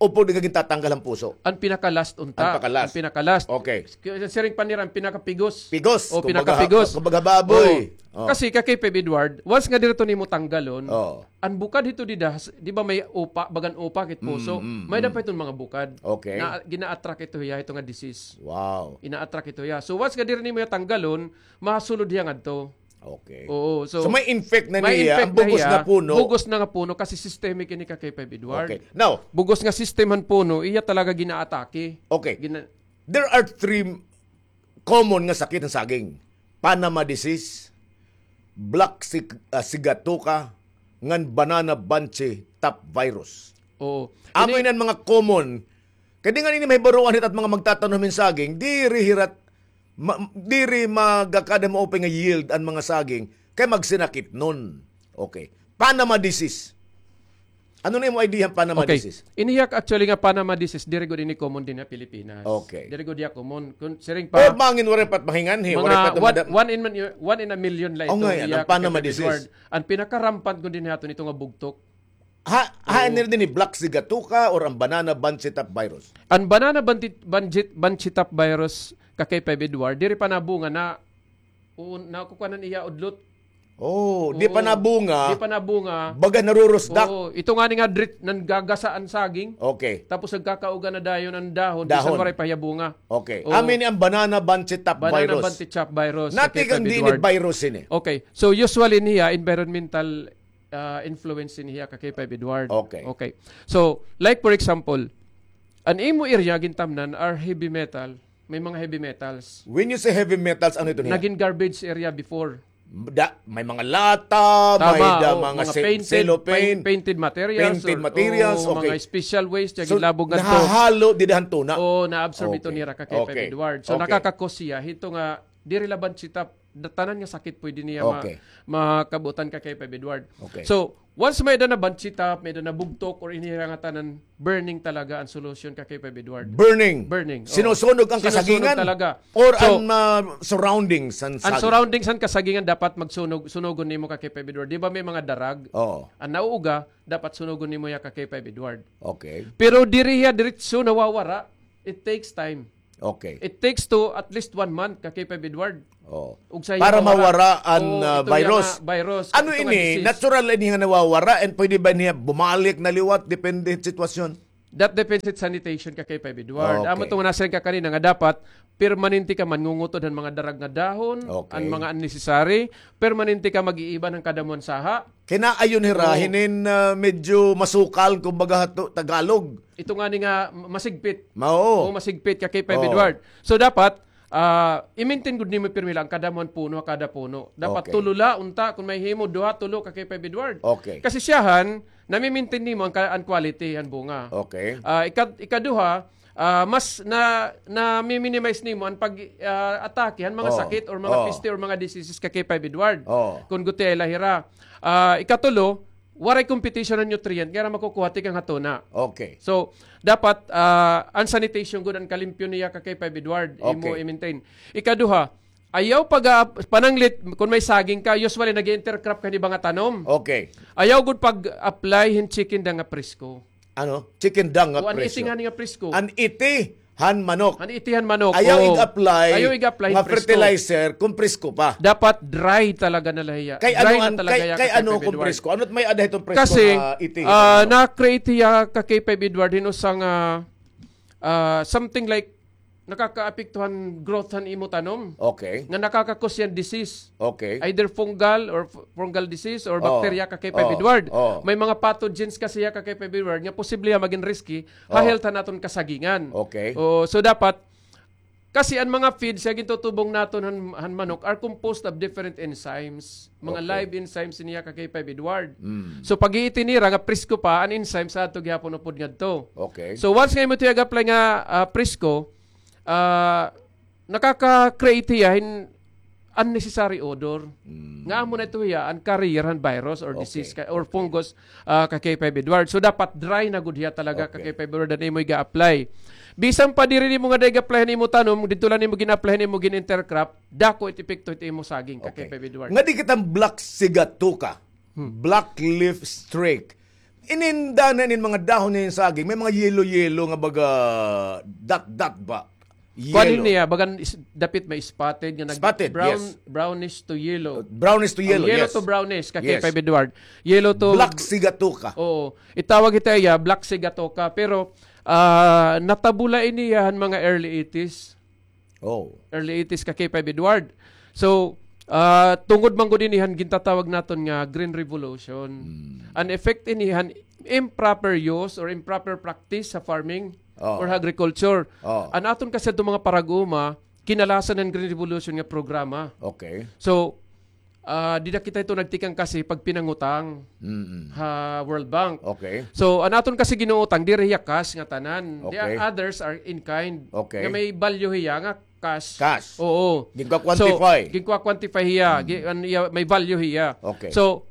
upod nga gintatanggal an puso. An pinaka-last unta. An paka-last. An pinaka-last. Okay. Siring pa nira an pinakapigos. Pigos. O, kumbaga, pinakapigos. Kumbaga baboy. Oo. Kasi, ka K five Edward, once nga diri ito nimo tanggalon, oo, an bukad hito dida, di ba may upa, bagan upa kit puso? Mm, mm, may da pa iton mga bukad. Okay. Na gina-attract ito hiya, ito nga disease. Wow. Ina-attract ito hiya. So, once nga diri nimo hiya tanggalon, masulod hiya ngadto. Okay. Oo, so, so may infect na niya, may infect na hiya, bugos na puno. Bugos na nga puno kasi systemic ini, ka K five Edward. Okay. Now, bugos nga system han puno, iya talaga ginaatake. Okay. Gina- There are three common nga sakit han saging. Panama disease, black sig-, ah, sigatoka, ngan banana bunchy top virus. Oo. Amo ini an mga common. Kay di ngani ini mahibaroan hit at mga magtatanom hin saging, diri hira Ma-, diri magakada maupay nga yield an mga saging kay magsinakitnon. Okay. Panama disease. Ano na imo idea han Panama disease? Okay. Ini hiya actually nga Panama disease, diri gud ini common dinhi ha Pilipinas. Okay. Diri gud hiya common. Kun siring pa, o, bangin waray pa it mahinganhi, waray pa it one, madam-, one in, one in a million la ito. O, ngay-an, an Panama disease. An pinaka-rampant gud dinhi ha aton ito nga bugtok. Ha, ha, oo. Ano dinhi, black sigatoka or an banana bunchy top virus? An banana bunchy, bunchy, bunchy top virus, ka K five Edward, diri pa nabunga na, o, nakukuha na niya udlot. Oh, di pa nabunga. Di pa nabunga. Baga narurusdak. Oo, ito ngani nga drit-, nanggagasa an saging. Okay. Tapos nagkakauga na dayon an dahon, bisan waray pa hiya bunga. Okay. Amo ini an banana bunchy top virus. Banana bunchy top virus, Ka K five Edward. Natikang diin virus ini? Okay. So, usually niya, environmental, ah, influence ini hiya, Ka K five Edward. Okay. Okay. So, like for example, an imo area gintamnan are heavy metal. May mga heavy metals. When you say heavy metals, ano ito niya? Naging garbage area before. Da-, may mga lata, may da-, mga ce-, cellophane, painted materials, painted materials, o mga special waste, so, ginlabog ngadto. Nahahalo dida han tuna. Oo, na-absorb ito nira, Ka K five Edward. So, nakaka-cause hiya hito nga diri la bunchy top, da-, tanan nga sakit pwede niya ma-, makabutan, Ka K five Edward. Okay. So, once may-ada na bunchy top, may-ada na bugtok, or ini hira nga tanan, burning talaga an solusyon, Ka K five Edward. Burning? Burning, oo. Sinusunog an kasagingan? Sinusunog talaga. Or an, ah, surroundings han saging? An surroundings han kasagingan dapat magsunog, sunogon nimo, Ka K five Edward. Di ba may mga darag? Oo. An nauuga, dapat sunogon nimo hiya, Ka K five Edward. Okay. Pero diri hiya diretso nawawara. It takes time. Okay. It takes to at least one month, Ka K five Edward. Oh. Para mawara an, ah, virus. Ug sa iya mawara, oo, ito nga virus, ito nga disease. Ano ini? Natural ini nga nawawara and pwede ba niya bumalik na liwat depende sitwasyon? That depends sa sanitation, Ka K five Edward. Okay. Amo ito nga nasiring ka kanina nga dapat permanente ka mangungutod han mga darag nga dahon, an mga unnecessary, permanente ka mag-iiban han kadamo han saha. Kinaayon hira hinin, ah, medyo masukal, kumbaga, ha Tagalog. Ito ngani nga ma-, masigpit. Oo, masigpit, Ka K five Edward. So, dapat, ah, i-maintain gud nimo pirmi la an kadamo han puno ha kada puno. Dapat tulo la, unta, kon mahimo, duha, tulo, Ka K five Edward. Okay. Kasi siyahan, nami-maintain nimo an ka-, an quality han bunga. Okay. Ah, ika-, ikaduha, ah, mas na, nami-minimize nimo an pag, ah, atake han mga sakit or mga peste or mga diseases, Ka K five Edward. Oo. Kon gutela hira. Ah, ikatulo, waray competition han nutrient nga ira makukuha tikang ha tuna. Okay. So, dapat, ah, an sanitation gud an kalimpyo niya, Ka K five Edward, imo i-maintain. Okay. Ikaduha, ayaw pag, ah, pananglit, kon may saging ka, usually nag-intercrop ka hin iba nga tanom. Okay. Ayaw gud pag-apply hin chicken dung nga presko. Ano? Chicken dung nga presko. O, an iti ngani nga presko. An iti han manok. An iti han manok. Ayaw ig-apply, ayaw ig-apply hin presko. Nga fertilizer kon presko pa. Dapat dry talaga na la hiya. Dry na talaga hiya, Ka K five Edward. Kay ano kon presko? Ano it may-ada hiton presko nga iti han manok? Kasi, ah, na-create hiya, Ka K five Edward, hin usa nga, ah, something like nakakaapekto han growth han imo tanom. Okay. Nga nakaka-cause hiya hin disease. Okay. Either fungal or f-, fungal disease or bacteria, Ka K five Edward. Oo. May mga pathogens kasi hiya, Ka K five Edward, nga posible hiya magin risky ha health han aton kasagingan. Okay. Oo, so dapat, kasi an mga feeds nga gintutubong naton han, han manok are composed of different enzymes. Mga live enzymes ini hiya, Ka K five Edward. Mm. So, pag-iiti nira nga presko pa, an enzymes adto gihapon upod ngadto. Okay. So, once nga imo ito ig-apply nga, ah, presko, ah, nakaka-create hiya hin unnecessary odor. Mm. Nga amo na ito hiya an carrier han virus or disease ka, or fungus, ah, Ka K five Edward. So, dapat dry na gud hiya talaga, Ka K five Edward, an imo iga-apply. Bisan pa diri nimo ngada ig-apply han imo tanom, didto la nimo gin-apply han imo gin-intercrop, dako it epekto hit imo saging, Ka K five Edward. Ngadi kita black sigatoka, black leaf streak. Ininda na inin mga dahon niyan saging, may mga yellow-yellow nga baga dot-dot ba? Kuan ini, ah, bagan is-, dapit may spotted nga nag-, spotted, brown, yes. Brownish to yellow. Brownish to yellow, yes. Yellow to brownish, Ka K five Edward. Yellow to black sigatoka. Oo. Itawag ito iya, black sigatoka. Pero, ah, natabo la ini han mga early eighties. Oh. Early eighties, Ka K five Edward. So, ah, tungod man gud ini han gintatawag naton nga Green Revolution. Hmm. An effect ini han improper use or improper practice sa farming or agriculture. Oh. An aton kasi adto mga parag-uma, kinalasan han Green Revolution nga programa. Okay. So, ah, dida kita ito nagtikang kasi pagpinangutang ha World Bank. Okay. So, an aton kasi ginuutang, diri hiya cash nga tanan. Okay. The others are in kind. Okay. Nga may value hiya nga cash. Cash. Oo. Ginka-quantify. So, ginka-quantify hiya. Gi-, an iya, may value hiya. Okay. So,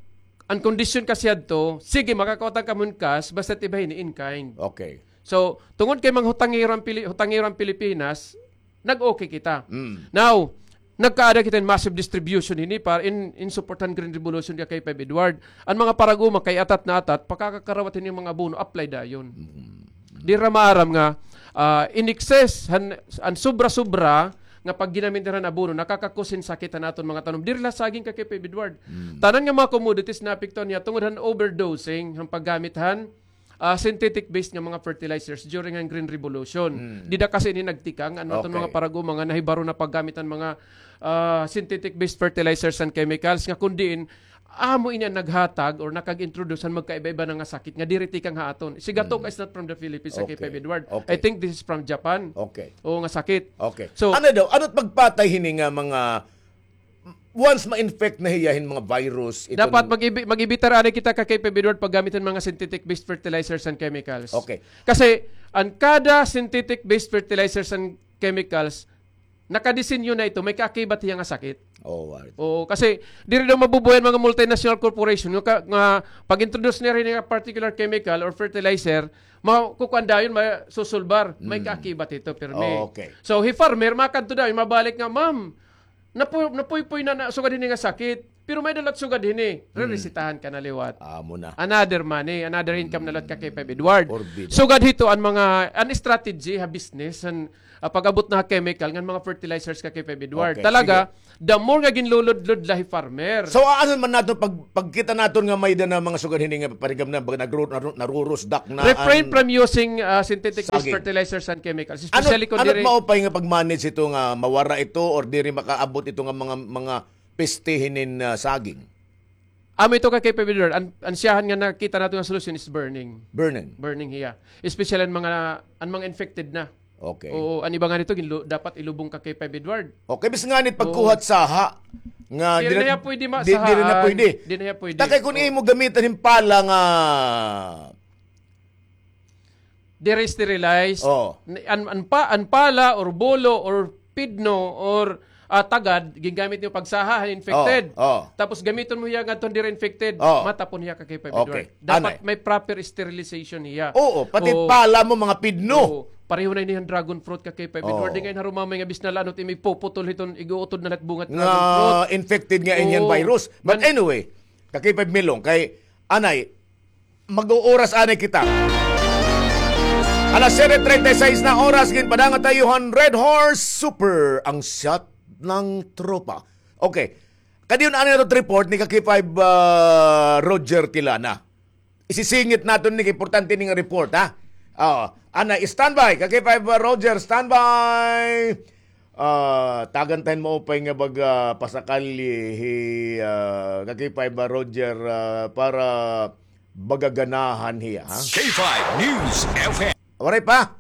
an kondisyon kasi adto, sige, makakautang kamo hin cash, basta iba hini in kind. Okay. So, tungod kay mga hutangero an Pili-, hutangero an Pilipinas, nag-okay kita. Mm. Now, nagkaada kita hin massive distribution hini para in, in support han Green Revolution, Ka K five Edward. An mga parag-uma kay atat na atat, pakakakarawat hini mga abono, apply dayon. Mm. Dira maaram nga, ah, in excess, han, an sobra-sobra, nga pag ginamit nira han abono, nakaka-cause hin sakit han aton mga tanom. Diri la saging, Ka K five Edward. Tanan nga mga commodities naapektuhan hiya tungod han overdosing, han paggamit han, ah, synthetic based nga mga fertilizers during han Green Revolution. Dida kasi ini nagtikang, an aton mga paragumo nga nahibaro na paggamit han mga, ah, synthetic based fertilizers and chemicals nga kun diin, amo ini an naghatag or nakag-introduce han magkaiba-iba na nga sakit nga diri tikang ha aton. Sigatoka is not from the Philippines, Ka K five Edward. I think this is from Japan. Okay. Oo, nga sakit. Okay. So, ano daw? Ano't pagpatay hini nga mga, once ma-infect na hiya hin mga virus, dapat mag-ibi-, mag-ibitar anay kita, Ka K five Edward, paggamit han mga synthetic based fertilizers and chemicals. Okay. Kasi an kada synthetic based fertilizers and chemicals, nakadesinyo na ito, may kaakibat hiya nga sakit. Oo, kasi diri daw mabubuhay an mga multinational corporation nga ka-, nga pag-introduce nira hini nga particular chemical or fertilizer, makukuan dayon, masusulbar, may kaakibat ito pirmi. Okay. So, hi farmer, makadto dayon, mabalik nga, "Ma'am, napu-, napuypoy na, na sugad hini nga sakit. Pero may-ada la it sugad hini." Reresetahan ka na liwat. Amo na. Another money, another income na liwat, Ka K five Edward. Sugad hito an mga, an strategy ha business, an, ah, pag-abot na ha chemical, ngan mga fertilizers, Ka K five Edward. Okay, talaga, sige. The more nga ginluludlod la hi farmer. So, ano man naton pag, pagkita naton nga may-ada na mga sugad hini nga parigam na, baga nagru-, naru-, narurusdak na. Refrain from using, ah, synthetic based fertilizers and chemicals, especially kun diri. Ano maupay nga pag-manage ito nga mawara ito or diri makaabot ito nga mga, mga peste hinin, ah, saging? Amo ito, Ka K five Edward. An, an siyahan nga nakita naton nga solusyon is burning. Burning. Burning hiya. Especially an mga, an mga infected na. Okay. Oo, an iba ngani ito, ginlu-, dapat ilubong, Ka K five Edward. Okay, bis ngani it pagkuha hit saha nga diri na hiya pwede ma-, diri na pwede. Diri na hiya pwede. Ta kay kun imo gamitan hin pala nga diri sterilized. An, an pa-, an pala or bulo or pidno or, ah, tagad, gingamit niyo pagsaha han infected. Tapos gamiton mo hiya ngadto han diri infected, matapon hiya, Ka K five Edward. Okay. Dapat may proper sterilization hiya. Oo, pati pala mo, mga pidno. Oo, pareho na ini han dragon fruit, Ka K five Edward. Di ngay-an harumamay nga bis na la ano it imo ipuputol hiton ig-uutod na la it bunga hit dragon fruit. Nga infected nga ini han virus. But anyway, Ka K five Milong, kay anay, mag-uuras anay kita. Alas siyete treinta y seis na oras, ginpadangat ta iyo han Red Horse Super, ang shot ng tropa. Okay. Kadi yon anay naton report ni Ka K five, ah, Roger Tilana. Isisingit naton ini, importante ini nga report, ha? Oo. Anay, standby. Ka K five, ah, Roger, standby. Ah, tagan ta hin maupay nga baga pasakalye hi, ah, Ka K five, ah, Roger, ah, para baga ganahan hiya, ha? K five News F M. Waray pa?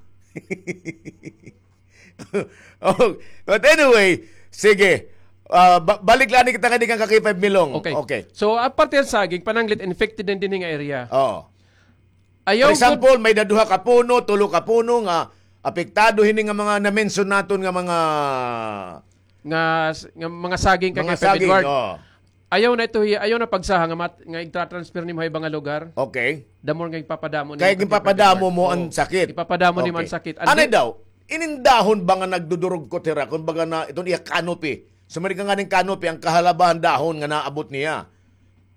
Oh, but anyway, sige. Ah, ba-, balik la anay kita ngadi kan Ka K five Milong. Okay. Okay. So, aparte han saging, pananglit infected na dinhi nga area. Oo. Ayaw, for example, may-ada duha ka puno, tulo ka puno nga apektado hini nga mga na-mention naton nga mga, nga s-, nga mga saging, Ka K five Edward. Ayaw na ito hiya, ayaw na pagsaha nga mat-, nga igtra-transfer nimo ha iba nga lugar. Okay. The more nga ipapadamo nimo, Ka K five Edward. Kay ipapadamo mo an sakit. Ipapadamo nimo an sakit. Anay daw, inin dahon ba nga nagdudurugkot hira, kumbaga na, iton iya canopy. Sumari ka ngani hin canopy, an kahalaba han dahon nga naabot niya.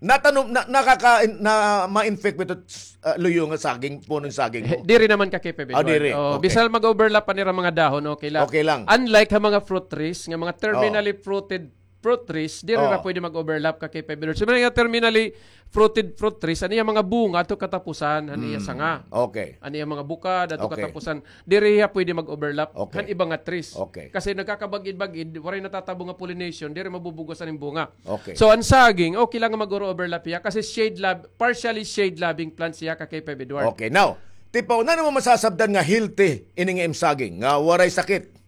Natanom, na, nakaka-, na, ma-infect ba ito, ah, luyo nga saging, puno hin saging mo? Diri naman, Ka K five Edward. Ah, diri. Okay. Bisan mag-overlap pa an ira mga dahon, okay lang. Okay lang. Unlike ha mga fruit trees, nga mga terminally fruited fruit trees, diri na pwede mag-overlap, Ka K five Edward. So, mga terminally fruited fruit trees, an iya mga bunga adto katapusan han iya sanga. Okay. An iya mga bukad adto katapusan. Diri hiya pwede mag-overlap han iba nga trees. Okay. Kasi nagkakabag-id-bag-id, waray natatabo nga pollination, diri mabubug-os an bunga. Okay. So, an saging, okay lang nga mag-overlap hiya kasi shade lab-, partially shade-loving plants hiya, Ka K five Edward. Okay, now, Tipaw, nano mo masasabtan nga healthy ini nga im saging, nga waray sakit?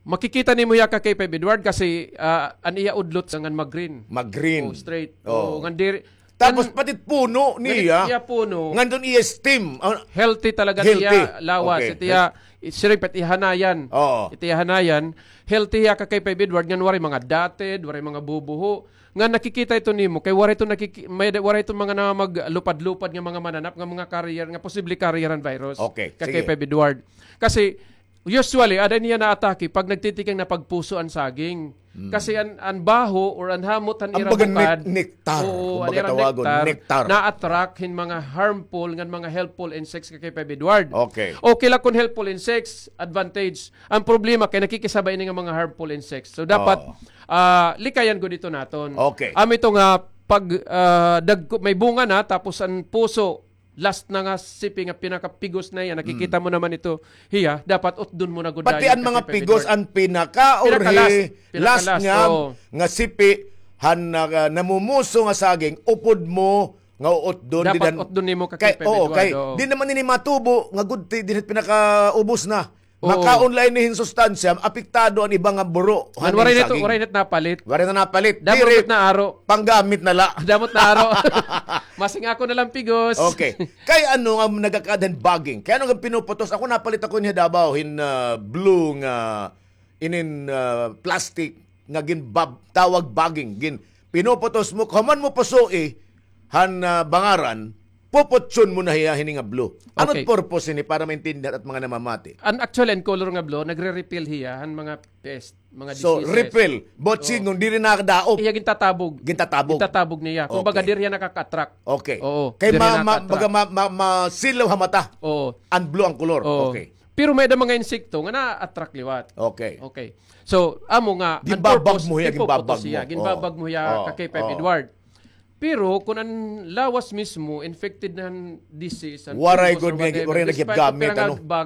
Makikita nimo hiya, Ka K five Edward, kasi, ah, an iya udlot ngan mag-green. Mag-green. Oh, straight. Oh. Oh, ngan diri, tapos ngan pati puno niya. Iya puno. Ngan dun iya stem. Ah, healthy talaga iya lawas. Okay. It iya, siring pa it iya hanayan. Oo. It iya hanayan. Healthy hiya, Ka K five Edward, ngan waray mga dotted, waray mga bubuho. Nga nakikita ito nimo, kay waray ito nakiki-, may, waray ito mga na maglupad-lupad nga mga mananap, nga mga carrier, nga posible carrier han virus. Okay, sige. Ka K five Edward. Kasi, usually, ada niya naatake pag nagtitikang na pagpuso an saging. Kasi an, an baho or an hamot han ira bukad, nektar, oo, an ira nektar, na-attract hin mga harmful ngan mga helpful insects ka K five Edward. Okay. Okay la kon helpful insects, advantage. An problema kay nakikisabay ini nga mga harmful insects. So dapat, ah, likayan gud ito naton. Okay. Amo ito nga pag, ah, dagko, may bunga na, tapos an puso, last na nga sipi nga pinakapigos na hiya, nakikita mo naman ito hiya, dapat utdon mo na gud. Pati an mga pigos, an pinaka or last, last nga, nga sipi han, ah, namumuso nga saging, upod mo nga uutdon. Dapat utdon nimo ka K five Edward, oo. Di naman ini matubo nga gudti dinhi pinakaubos na. Makaon la ini hin sustansya, apektado an iba nga buro han saging. Waray na napalit. Waray na napalit. Damo na aro. Panggamit na la. Damo na aro. Masing ako na lang pigos. Okay. Kay ano nga nagakaada hin bugging? Kay ano nga pinuputos? Ako napalit ako hin Davao hin, ah, blue nga inin, ah, plastic nga ginbab-, tawag bugging. Gin-, pinuputos mo, kahuman mo pusoi han, ah, bangaran, puputson mo na hiya hini nga blue. Ano purpose hini para maintindihan at mga namamati? An actually, an color nga blue, nagre-repel hiya han mga pest, mga diseases. So, repel. But singon, diri nakadaop. Iya gintatabog. Gintatabog. Gintatabog niya. Kumbaga, diri hiya nakaka-attract. Okay. Oo. Kay ma-, ma-, baga ma-, ma-, masilaw ha mata. Oo. An blue an kolor. Oo. Okay. Pero may-ada mga insekto nga na-attract liwat. Okay. Okay. So, amo nga, an purpose, ginbabag mo hiya, ginbabag mo hiya ka K five Edward. Pero kon an lawas mismo infected na han disease, han fungus or whatever, despite of pira nga bag,